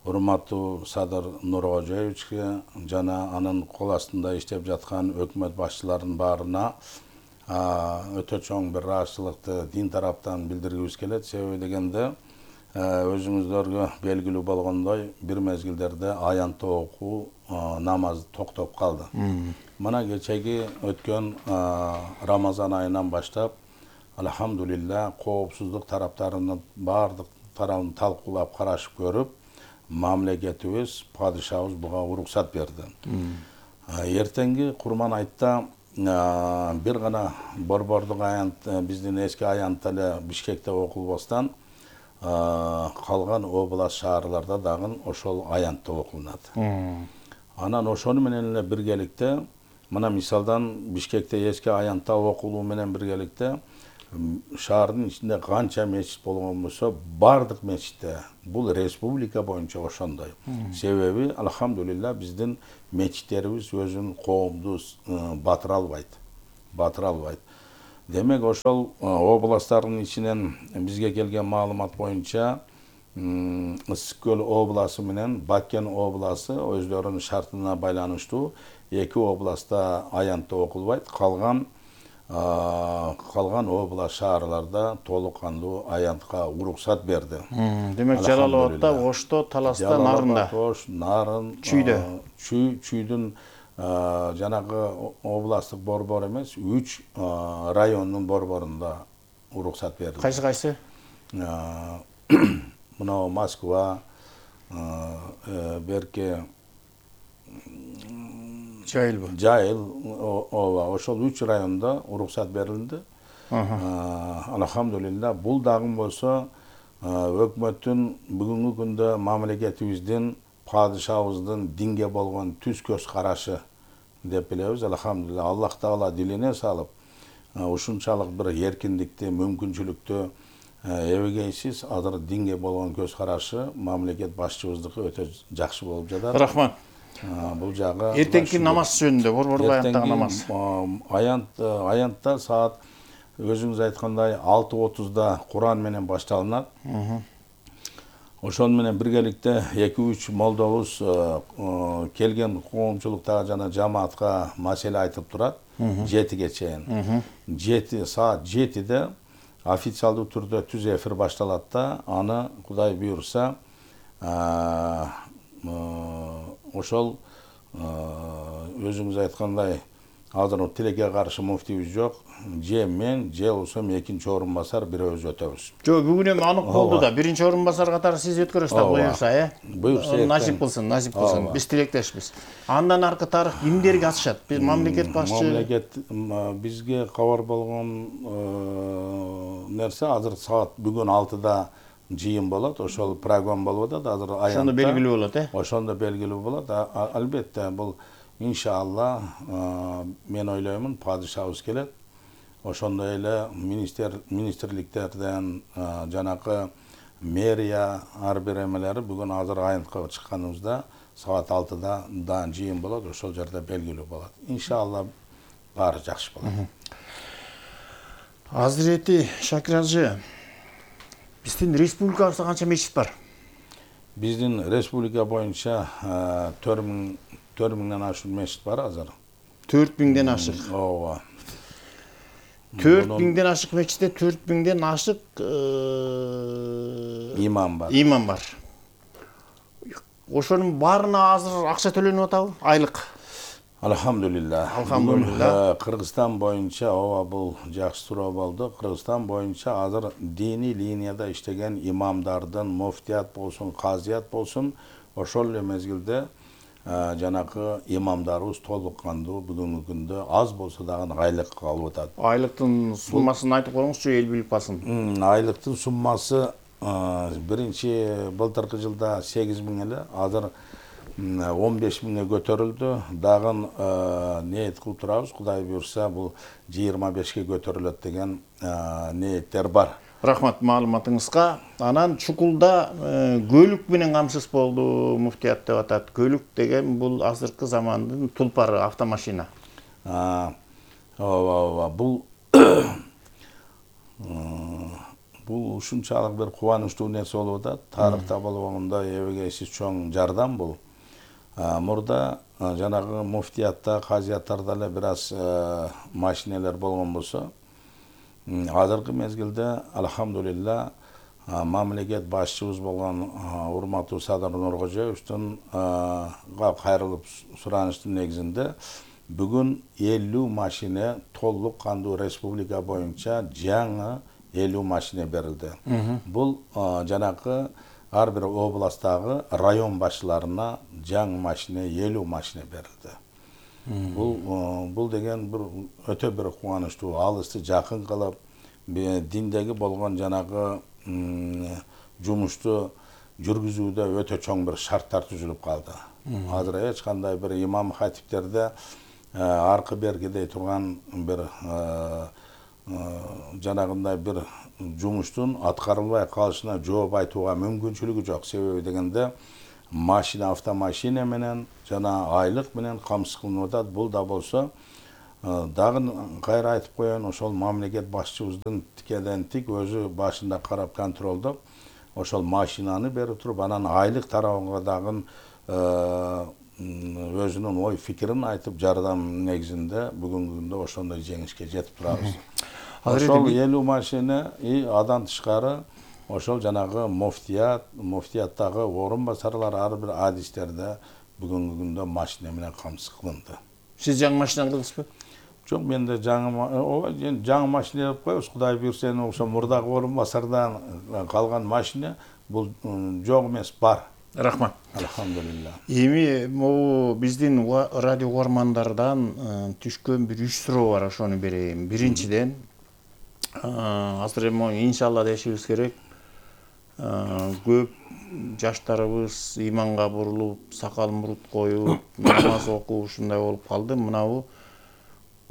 Speaker 1: урматтуу Садыр Нуркожоевичке жана анын кол астында иштеп жаткан өкмөт башчыларынын баарына өтө чоң бир ыраазычылыкты дин тараптан билдиргибиз келет. Себеби дегенде өзүңүздөргө белгилүү болгондой бир мезгилдерде аянтты окуу намаз токтоп калды. Мына кечеги өткөн Рамазан айынан баштап алхамдулилля коопсуздук тараптарынын баардык тарабын талкуулап карашып көрүп, мамлекетибиз, падышабыз буга уруксат берди. Эртеңки Курман айтта бир гана борбордук аянт, биздин эски аянт эле Бишкекте окулбастан калган область шаарларда дагы ошол аянтта окулунат. Анан ошону менен эле биргеликте, мына мисалдан Бишкекте эски аянтта окулуу менен биргеликте шаардын ичинде канча мечит болгон болсо, бардык мечитте бул республика боюнча ошондой. Себеби алхамдулилла биздин мечиттерибиз өзүн коомду батыра албайт. Батыра албайт. Демек ошол областтардын ичинен бизге келген маалымат боюнча Ысык көл обласы менен Бакен обласы өздөрүнүн шартына байланыштуу эки областта аянтта окулбайт, калган калган област шаарларда толук кандуу аянтка уруксат берди.
Speaker 2: Демек Жалал Абадта, Ошто, Таласта, Нарында.
Speaker 1: Ош, Нарын,
Speaker 2: Чүйдө.
Speaker 1: Чүй, Чүйдүн жанагы областтык борбор эмес, үч райондун борборунда уруксат берди.
Speaker 2: Кайсы кайсы?
Speaker 1: Мына Москва, берке
Speaker 2: Жайыл.
Speaker 1: Жайыл, ооба, ошол үч районда уруксат берилди. Алхамдулилла, бул дагы болсо өкмөттүн бүгүнкү күндө мамлекетибиздин, падышабыздын динге болгон түз көз карашы деп билебиз. Алхамдулилла, Аллах Таала дилине салып, ушунчалык бир эркиндикти, мүмкүнчүлүктү эбегейсиз азыр динге болгон көз карашы мамлекет башчыбыздыкы өтө жакшы болуп жатат.
Speaker 2: Рахмат.
Speaker 1: Бул жагы
Speaker 2: Эртеңки намаз жөнүндө, борбордо аянттагы намаз.
Speaker 1: Аянт аянтта саат өзүңүз айткандай алты отузда Куран менен башталынат. Ошон менен биргеликте эки үч молдобуз келген коомчулукта жана жамаатка маселе айтып турат. жетиге чейин. жети саат жетиде официалдуу түрдө түз эфир башталат да, аны Кудай буйрса ошол өзүңүз айткандай азыр тилекке каршы муфтийбиз жок. Же мен, же болсо экинчи орун басар бирөөбүз өтөбүз.
Speaker 2: Жок, бүгүн эми анық болду да. Биринчи орун басар катары сиз өткөрөсүз да, буюрса, э?
Speaker 1: Буюрса.
Speaker 2: Насип кылсын, насип кылсын. Биз тилектешпиз. Андан аркы тарых кимдерге атышат? Биз мамлекет башчы.
Speaker 1: Мамлекет бизге кабар болгон нерсе азыр саат бүгүн алтыда жыйын болот. Ошол программа болуп атат. Азыр аянтта.
Speaker 2: Ошондо белгилүү болот, э?
Speaker 1: Ошондо белгилүү болот. Албетте бул иншалла мен ойлоймун падышабыз келет. Ошондой эле министр министрликтерден жанакы мэрия ар бир эмелери бүгүн азыр аянтка чыкканыбызда саат алтыда да жыйын болот. Ошол жерде белгилүү болот. Иншалла баары жакшы болот.
Speaker 2: Азирети Шакир ажы, биздин республикабызда канча мечит бар?
Speaker 1: Биздин республика боюнча төрт миңден ашык мечит бар азыр.
Speaker 2: төрт миңден ашык.
Speaker 1: Ооба.
Speaker 2: төрт миңден ашык мечитте төрт миңден ашык
Speaker 1: имам бар.
Speaker 2: Имам бар. Ошонун баарына азыр акча төлөнүп атабы? Айлык.
Speaker 1: Алхамдулилла.
Speaker 2: Алхамдулилла.
Speaker 1: Кыргызстан боюнча ооба бул жакшы суроо болду. Кыргызстан боюнча азыр диний линияда иштеген имамдардын, муфтият болсун, казият болсун, ошол эле мезгилде жанакы имамдарыбыз толук кандуу бүгүнкү күндө аз болсо дагы айлык алып атат.
Speaker 2: Айлыктын суммасын айтып коюңузчу, эл билип калсын.
Speaker 1: Айлыктын суммасы биринчи былтыркы жылда сегиз миң эле, азыр он беш миңге көтөрүлдү. Дагы ниет кылып турабыз. Кудай буйрса бул жыйырма бешке көтөрүлөт деген ниеттер бар.
Speaker 2: Рахмат маалыматыңызга. Анан Чукулда көлүк менен камсыз болду, муфтият деп атат. Көлүк деген бул азыркы замандын тулпары, автомашина.
Speaker 1: Ооба, ооба. Бул бул ушунчалык бир кубанычтуу нерсе болуп атат. Тарыхта болгондой эбегейсиз чоң жардам бул. Мурда жанагы муфтиятта, казияттарда эле бир аз машинелер болгон болсо, азыркы мезгилде алхамдулилла мамлекет башчыбыз болгон урматтуу Садыр Нуркожоевичтин кайрылып суранычтын негизинде бүгүн элүү машина толук кандуу республика боюнча жаңы элүү машина берилди. Бул жанакы ар бир областтагы район башчыларына жаңы машина элүү машина берилди. Бул бул деген бир өтө бир кубанычтуу, алысты жакын кылып, диндеги болгон жанагы жумушту жүргүзүүдө өтө чоң бир шарттар түзүлүп калды. Азыр эч кандай бир имам хатиптерде аркы бергидей турган бир жанагындай бир жумуштун аткарылбай калышына жооп айтууга мүмкүнчүлүгү жок. Себеби дегенде машина, автомашина менен жана айлык менен камсыз кылынып атат. Бул да болсо дагы кайра айтып коеюн, ошол мамлекет башчыбыздын тикеден тик өзү башында карап контролдоп ошол машинаны берип туруп, анан айлык тарабына дагы өзүнүн ой фикирин айтып, жардам негизинде бүгүнкү күндө ошондой жеңишке жетип турабыз. Ошол элүү машина и адан тышкары ошол жанагы муфтият, муфтияттагы орун басарлар ар бир адистерде бүгүнкү күндө машина менен камсыз кылынды.
Speaker 2: Сиз жаңы машина алдыңызбы?
Speaker 1: Жок, менде жаңы жаңы машина деп коебуз. Кудай буйрса, ошо мурдагы орун басардан калган машина бул жок эмес, бар.
Speaker 2: Рахмат.
Speaker 1: Алхамдулилла.
Speaker 2: Эми могу биздин радио угармандардан түшкөн бир үч суроо бар, ошону берейин. Биринчиден, азыр эми иншалла дешибиз керек. Көп жаштарыбыз иманга бурулуп, сакал мурут коюп, намаз окуп ушундай болуп калды. Мынабу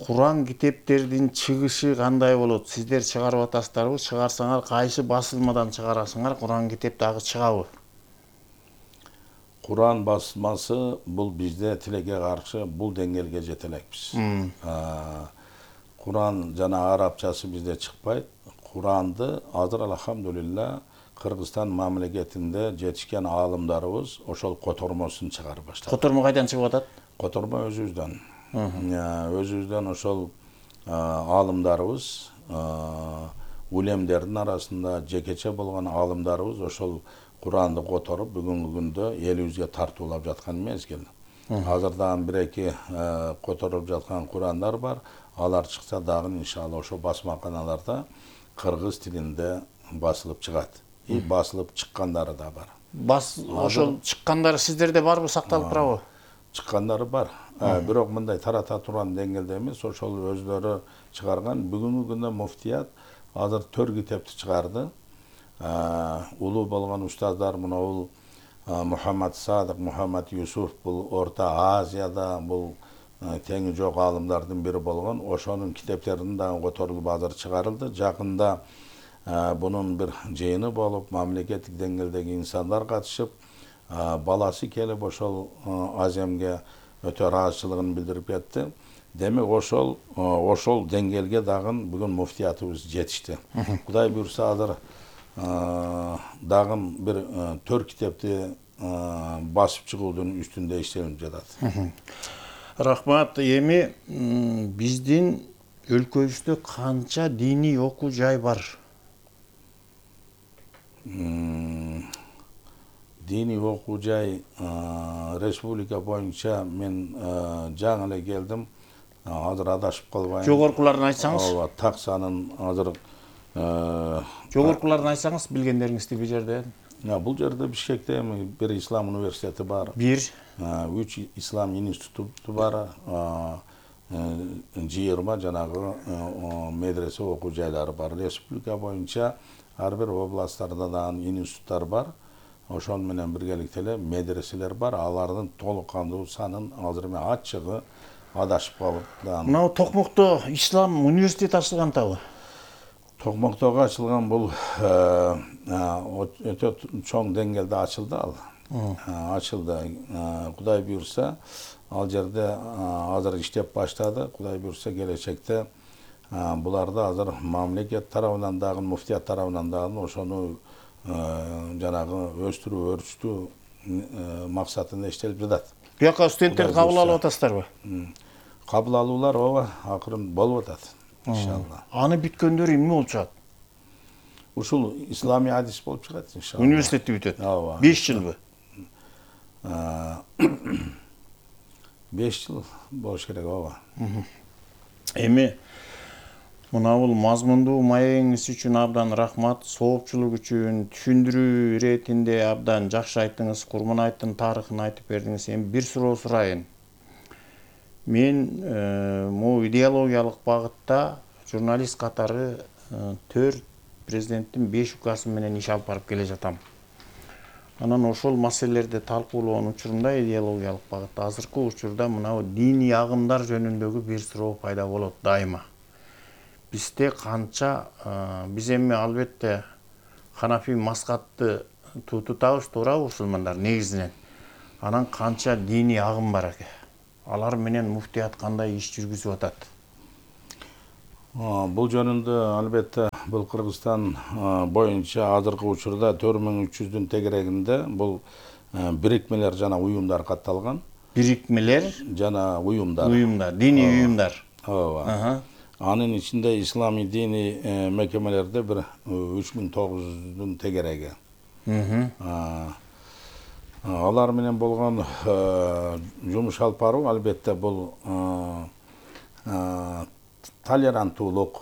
Speaker 2: Куран китептердин чыгышы кандай болот? Сиздер чыгарып атасыздарбы? Чыгарсаңар кайсы басылмадан чыгарасыңар? Куран китеп дагы чыгабы?
Speaker 1: Куран басмасы бул бизде тилекке каршы бул деңгээлге жете элекпиз. Куран жана арабчасы бизде чыкпайт. Куранды азыр алхамдулилла Кыргызстан мамлекетинде жетишкен аалымдарыбыз ошол котормосун чыгарып баштады.
Speaker 2: Котормо кайдан чыгып атат?
Speaker 1: Котормо өзүбүздөн. Өзүбүздөн ошол аалымдарыбыз, улемдердин арасында жекече болгон аалымдарыбыз ошол Куранды которуп бүгүнкү күндө элибизге тартуулап жаткан мезгил. Азыр дагы бир-эки которуп жаткан Курандар бар. Алар чыкса дагы иншалла ошо басмаканаларда кыргыз тилинде басылып чыгат. И басылып чыккандары да бар.
Speaker 2: Бас ошол чыккандары сиздерде барбы, сакталып турабы?
Speaker 1: Чыккандары бар. Бирок мындай тарата турган деңгээлде эмес, ошол өзлөрү чыгарган. Бүгүнкү күндө муфтият азыр төрт китепти чыгарды. Улуу болгон устаздар мына бул Мухаммад Садык, Мухаммад Юсуф бул Орто Азияда бул теңи жок аалымдардын бири болгон. Ошонун китептерин дагы которулуп азыр чыгарылды. Жакында бунун бир жыйыны болуп, мамлекеттик деңгээлдеги инсандар катышып, баласы келип ошол аземге өтө ыраазычылыгын билдирип кетти. Демек ошол ошол деңгээлге дагы бүгүн муфтиятыбыз жетишти. Кудай буйрса азыр дагы бир төрт китепти басып чыгуудун үстүндө иштелип жатат.
Speaker 2: Рахмат. Эми биздин өлкөбүздө канча диний окуу жай бар?
Speaker 1: Диний окуу жай республика боюнча мен жаңы эле келдим. Азыр адашып калбайын.
Speaker 2: Жогоркуларын айтсаңыз?
Speaker 1: Ооба, так санын азыр
Speaker 2: жогоркуларын айтсаңыз, билгендериңизди бул жерде.
Speaker 1: Бул жерде Бишкекте бир ислам университети бар.
Speaker 2: Бир,
Speaker 1: үч ислам институту бар. жыйырма жанагы медресе окуу жайлары бар. Республика боюнча ар бир областтарда дагы институттар бар. Ошол менен биргеликте эле медреселер бар. Алардын толук кандуу санын азыр мен ачыгы адашып калып.
Speaker 2: Мына Токмокто ислам университети ачылган атабы?
Speaker 1: Токмоктого ачылган бул өтө чоң деңгээлде ачылды ал. Ачылды. Кудай буйрса, ал жерде азыр иштеп баштады. Кудай буйрса келечекте буларды азыр мамлекет тарабынан дагы, муфтият тарабынан дагы ошону жанагы өстүрүү, өрчүтүү максатында иштелип жатат.
Speaker 2: Буяка студенттерди кабыл алып атасыздарбы?
Speaker 1: Кабыл алуулар ооба акырын болуп атат. Иншалла.
Speaker 2: Аны бүткөндөр эмне болуп чыгат?
Speaker 1: Ушул исламий адис болуп чыгат иншалла.
Speaker 2: Университетти бүтөт.
Speaker 1: Ооба.
Speaker 2: беш жылбы?
Speaker 1: беш жыл болуш керек, ооба.
Speaker 2: Эми мына бул мазмундуу маегиңиз үчүн абдан рахмат. Соопчулук үчүн түшүндүрүү иретинде абдан жакшы айттыңыз. Курман айттын тарыхын айтып бердиңиз. Эми бир суроо сурайын. Мен могу идеологиялык багытта журналист катары төрт президенттин беш указы менен иш алып барып келе жатам. Анан ошол маселелерди талкуулоон учурунда идеологиялык багытта азыркы учурда мына диний агымдар жөнүндөгү бир суроо пайда болот дайыма. бизде канча биз эми албетте Ханафи мазхабты тутабыз, туурабы мусулмандар негизинен. Анан канча диний агым бар экен. Алар менен муфтият кандай иш жүргүзүп атат?
Speaker 1: Бул жөнүндө албетте бул Кыргызстан боюнча азыркы учурда төрт миң үч жүздүн тегерегинде бул бирикмелер жана уюмдар катталган.
Speaker 2: Бирикмелер
Speaker 1: жана уюмдар.
Speaker 2: Уюмдар, диний уюмдар.
Speaker 1: Ооба. Анын ичинде ислами диний мекемелерде бир үч миң тогуз жүздүн тегереги. Алар менен болгон жумуш алып баруу албетте бул толеранттуулук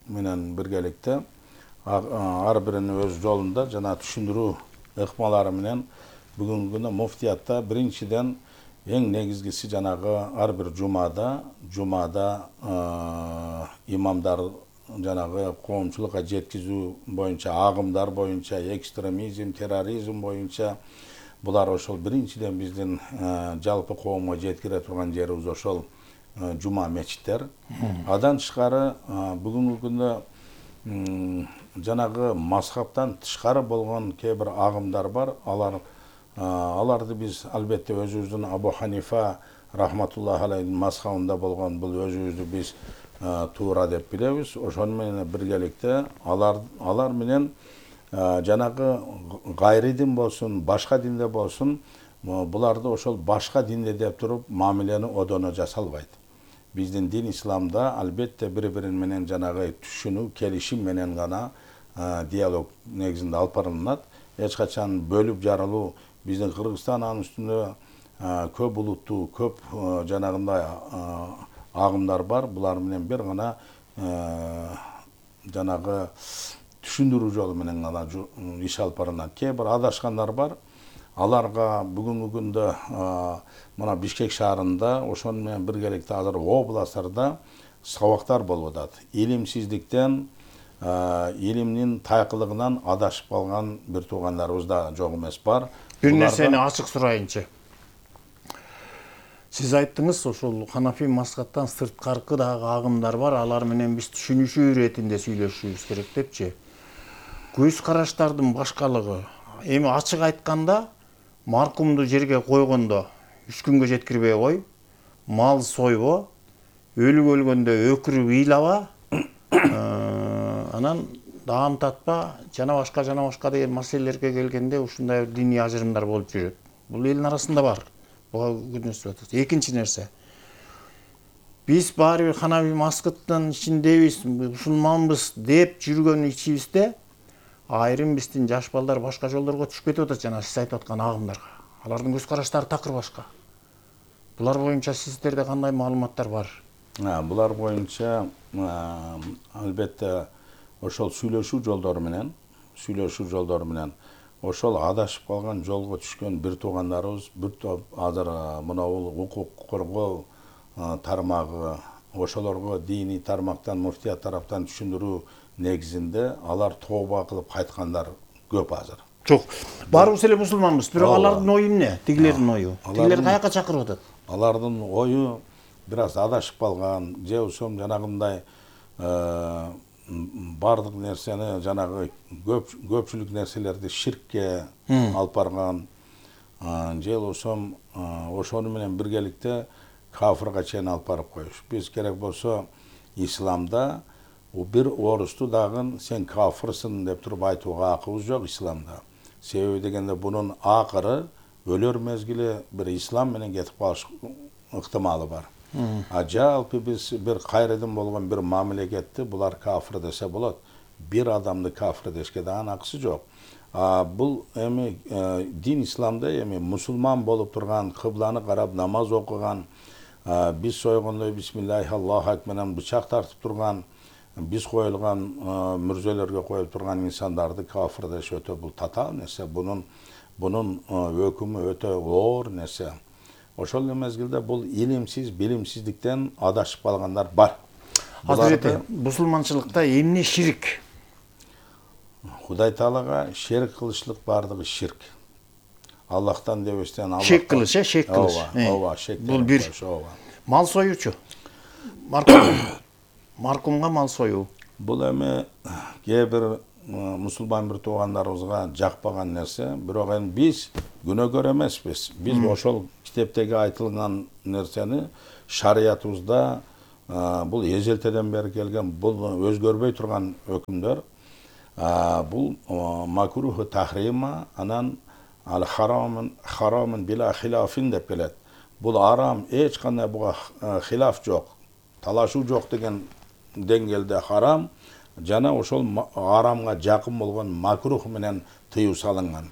Speaker 1: менен биргеликте ар биринин өз жолунда жана түшүндүрүү ыкмалары менен бүгүнкү күндө муфтиятта биринчиден эң негизгиси жанагы ар бир жумада жумада имамдар жанагы коомчулукка жеткизүү боюнча агымдар боюнча экстремизм, терроризм боюнча булар ошол биринчиден биздин жалпы коомго жеткире турган жерибиз ошол жума мечиттер. Адан тышкары бүгүнкү күндө жанагы мазхабтан тышкары болгон кээ бир агымдар бар. Алар аларды биз албетте өзүбүздүн Абу Ханифа рахматуллахи алейхин мазхабында болгон бул өзүбүздү биз туура деп билебиз. Ошону менен биргеликте алар алар менен жанагы гайри дин болсун, башка динде болсун, буларды ошол башка динде деп туруп мамилени одоно жасалбайт. Биздин дин исламда албетте бири-бирин менен жанагы түшүнүү, келишим менен гана диалог негизинде алып барылат. Эч качан бөлүп жарылуу биздин Кыргызстан анын үстүндө көп улуттуу, көп жанагындай агымдар бар. Булар менен бир гана жанагы түшүндүрүү жолу менен гана иш алып барылат. Кээ бир адашкандар бар. Аларга бүгүнкү күндө мына Бишкек шаарында ошону менен биргеликте азыр областтарда сабактар болуп атат. Илимсиздиктен, илимдин тайкылыгынан адашып калган бир туугандарыбыз да жок эмес бар.
Speaker 2: Бир нерсени ачык сурайынчы. Сиз айттыңыз, ошол Ханафи мазхабтан сырткаркы дагы агымдар бар, алар менен биз түшүнүшүү иретинде сүйлөшүшүбүз керек депчи. Көз караштардын башкалыгы. Эми ачык айтканда, маркумду жерге койгондо үч күнгө жеткирбей кой, мал сойбо, өлүк өлгөндө өкүрүп ыйлаба, анан даам татпа, жана башка жана башка деген маселелерге келгенде ушундай диний ажырымдар болуп жүрөт. Бул элдин арасында бар. Буга күнөсүп атат. Экинчи нерсе. Биз баары бир Ханафи мазхабынын ичиндебиз, мусулманбыз деп жүргөн ичибизде айрым биздин жаш балдар башка жолдорго түшүп кетип атат, жана сиз айтып аткан агымдарга. Алардын көз караштары такыр башка. Булар боюнча сиздерде кандай маалыматтар бар?
Speaker 1: Булар боюнча албетте ошол сүйлөшүү жолдору менен, сүйлөшүү жолдору менен ошол адашып калган жолго түшкөн бир туугандарыбыз, бир топ азыр мынау укук коргоо тармагы, ошолорго диний тармактан, муфтият тараптан түшүндүрүү негизинде алар тооба кылып кайткандар көп азыр.
Speaker 2: Жок, баарыбыз эле мусулманбыз, бирок алардын ою эмне? Тигилердин ою. Тигилер каяка чакырып атат?
Speaker 1: Алардын ою бир аз адашып калган, же болбосо жанагындай бардык нерсени жанагы көп көпчүлүк нерселерди ширкке алып барган, же болбосо ошону менен биргеликте кафырга чейин алып барып коюш. Биз керек болсо исламда бир орусту дагы сен кафырсың деп туруп айтууга акыбыз жок исламда. Себеби дегенде бунун акыры өлөр мезгили бир ислам менен кетип калыш ыктымалы бар. А жалпы биз бир кайрыдын болгон бир мамлекетти булар кафыр десе болот. Бир адамды кафыр дешке дагы акысы жок. Бул эми дин исламда эми мусулман болуп турган, кыбланы карап намаз окуган, биз сойгондой бисмиллахи Аллаху акбар менен бычак тартып турган, биз коюлган мүрзөлөргө коюп турган инсандарды кафыр деш өтө бул татаал нерсе. Бунун бунун өкүмү өтө оор нерсе. Ошол мезгилде бул илимсиз, билимсиздиктен адашып калгандар бар.
Speaker 2: Азыр мусулманчылыкта эмне ширк?
Speaker 1: Кудай Таалага шерик кылышлык бардыгы ширк. Аллахтан дебестен Аллах.
Speaker 2: Шек кылыш, э, шек кылыш.
Speaker 1: Ооба, ооба, шек.
Speaker 2: Бул бир. Мал союучу. Маркум. маркумга мал союу.
Speaker 1: Бул эми кээ бир мусулман бир туугандарыбызга жакпаган нерсе, бирок эми биз күнөөкөр эмеспиз. Биз ошол китептеги айтылган нерсени шариятыбызда бул эжелтеден бери келген, бул өзгөрбөй турган өкүмдөр. Бул макруху тахрима, анан ал харамын харамын била хилафин деп келет. Бул арам, эч кандай буга хилаф жок, талашуу жок деген деңгээлде харам, жана ошол арамга жакын болгон макрух менен тыюу салынган.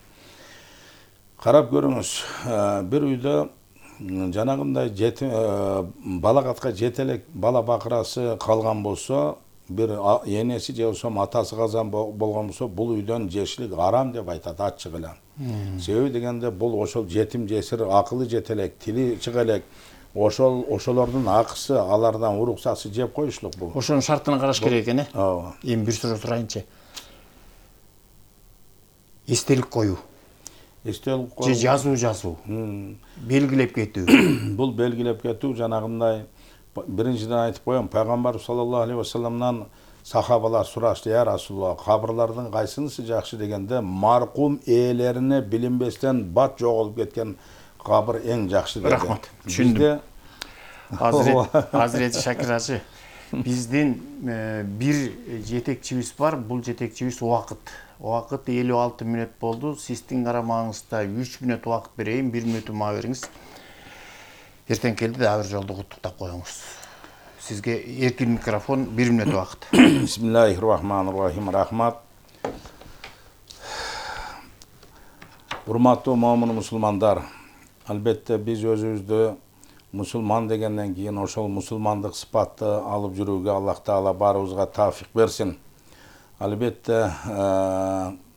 Speaker 1: Карап көрүңүз, бир үйдө жанагындай балагатка жете элек бала бакырасы калган болсо, бир энеси же болсо атасы казан болгон болсо, бул үйдөн жешилик арам деп айтат ачык эле. Себеби дегенде бул ошол жетим жесир, акылы жете элек, тили чыга элек, ошол ошолордун акысы, алардан уруксасы жеп коюшлук бул.
Speaker 2: Ошонун шартына караш керек экен, э?
Speaker 1: Ооба.
Speaker 2: Эми бир суроо сурайынчы. Эстелик коюу.
Speaker 1: Эстелик
Speaker 2: же жазуу жазуу. Белгилеп кетүү.
Speaker 1: Бул белгилеп кетүү жанагындай биринчиден айтып коем, пайгамбар саллаллаху алейхи ва салламдан сахабалар сурашты: "Я Расулулла, кабырлардын кайсынысы жакшы?" дегенде, маркум ээлерине билинбестен бат жоголуп кеткен кабыр эң жакшы деди.
Speaker 2: Рахмат. Түшүндүм. Азирет Азирет Шакир ажы, биздин бир жетекчибиз бар, бул жетекчибиз убакыт. Убакыт элүү алты мүнөт болду. Сиздин карамагыңызда үч мүнөт убакыт берейин, бир мүнөтү мага бериңиз. Эртең келди да бир жолду куттуктап коюңуз. Сизге эркин микрофон, бир мүнөт убакыт.
Speaker 1: Бисмиллахир-рахманир-рахим. Рахмат. Урматтуу момун мусулмандар, албетте биз өзүбүздү мусулман дегенден кийин ошол мусулмандык сыпатты алып жүрүүгө Аллах Таала баарыбызга тавфик берсин. Албетте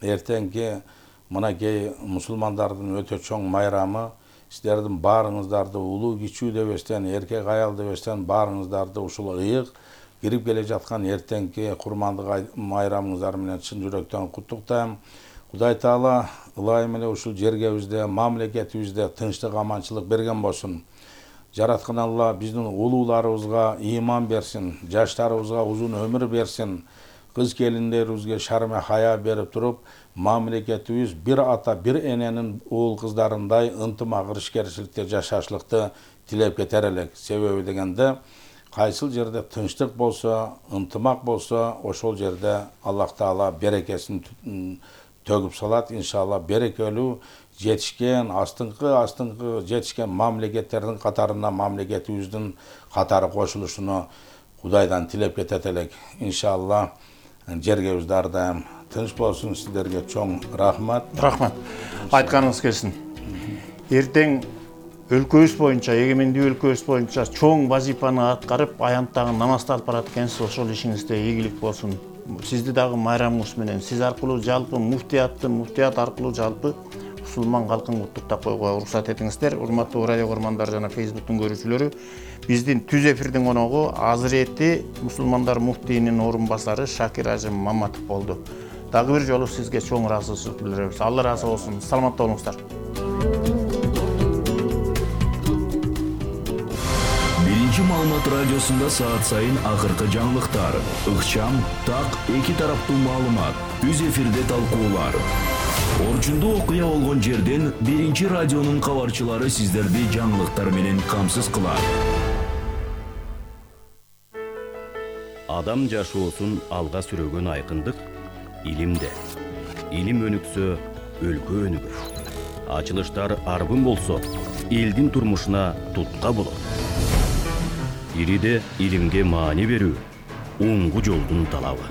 Speaker 1: эртеңки мынакей мусулмандардын өтө чоң майрамы, сиздердин баарыңыздарды улуу кичүү дебестен, эркек аял дебестен баарыңыздарды ушул ыйык кирип келе жаткан эртеңки курмандык майрамыңыздар менен чын жүрөктөн куттуктайм. Кудай Таала ылайым эле ушул жергебизде, мамлекетибизде тынчтык, аманчылык берген болсун. Жараткан Алла биздин улууларыбызга ыйман берсин, жаштарыбызга узун өмүр берсин. Кыз келиндерибизге шарме хая берип туруп, мамлекетибиз бир ата, бир эненин уул кыздарындай ынтымак, ишкерчиликте жашашлыкты тилеп кетер элек. Себеби дегенде, кайсыл жерде тынчтык болсо, ынтымак болсо, ошол жерде Аллах Таала берекесин төгүп салат. Иншалла берекелүү жетишкен, астыңкы астыңкы жетишкен мамлекеттердин катарына мамлекетибиздин катары кошулушуну Кудайдан тилеп кетет элек. Иншалла жергебиз ар дайым тынч болсун. Сиздерге чоң рахмат.
Speaker 2: Рахмат. Айтканыңыз келсин. Эртең өлкөбүз боюнча, эгемендүү өлкөбүз боюнча чоң вазифаны аткарып, аянттагы намазды алып барат экенсиз. Ошол ишиңизде ийгилик болсун. Сизди дагы майрамыңыз менен, сиз аркылуу жалпы муфтиятты, муфтият аркылуу жалпы мусулман калкын куттуктап коюуга уруксат этиңиздер. Урматтуу радио көрмандар жана Facebooктун көрүүчүлөрү, биздин түз эфирдин коногу Азирети мусулмандар муфтийинин орун басары Шакир ажы Маматов болду. Дагы бир жолу сизге чоң ыраазычылык билдиребиз. Алла ыраазы болсун. Саламатта болуңуздар.
Speaker 5: Биринчи маалымат радиосунда саат сайын акыркы жаңылыктар, ыкчам, так, эки тараптуу маалымат, түз эфирде талкуулар. Орчундуу окуя болгон жерден биринчи радионун кабарчылары сиздерди жаңылыктар менен камсыз кылат.
Speaker 6: Адам жашоосун алга сүрөгөн айкындык илимде. Илим өнүксө, өлкө өнүгөр. Ачылыштар арбын болсо, элдин турмушуна тутка болот. Ириде илимге маани берүү, оңгу жолдун талабы.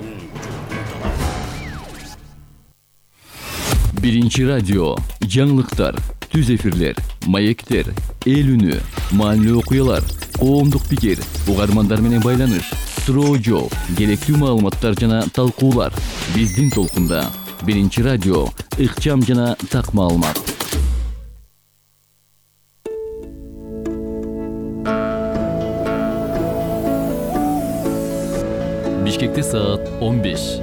Speaker 7: Биринчи радио, жаңылыктар, түз эфирлер, маектер, эл үнү, маанилүү окуялар, коомдук пикир, угармандар менен байланыш, суроо жол, керектүү маалыматтар жана талкуулар. Биздин толкунда Биринчи радио, ыкчам жана так маалымат. Бишкекте саат он беш.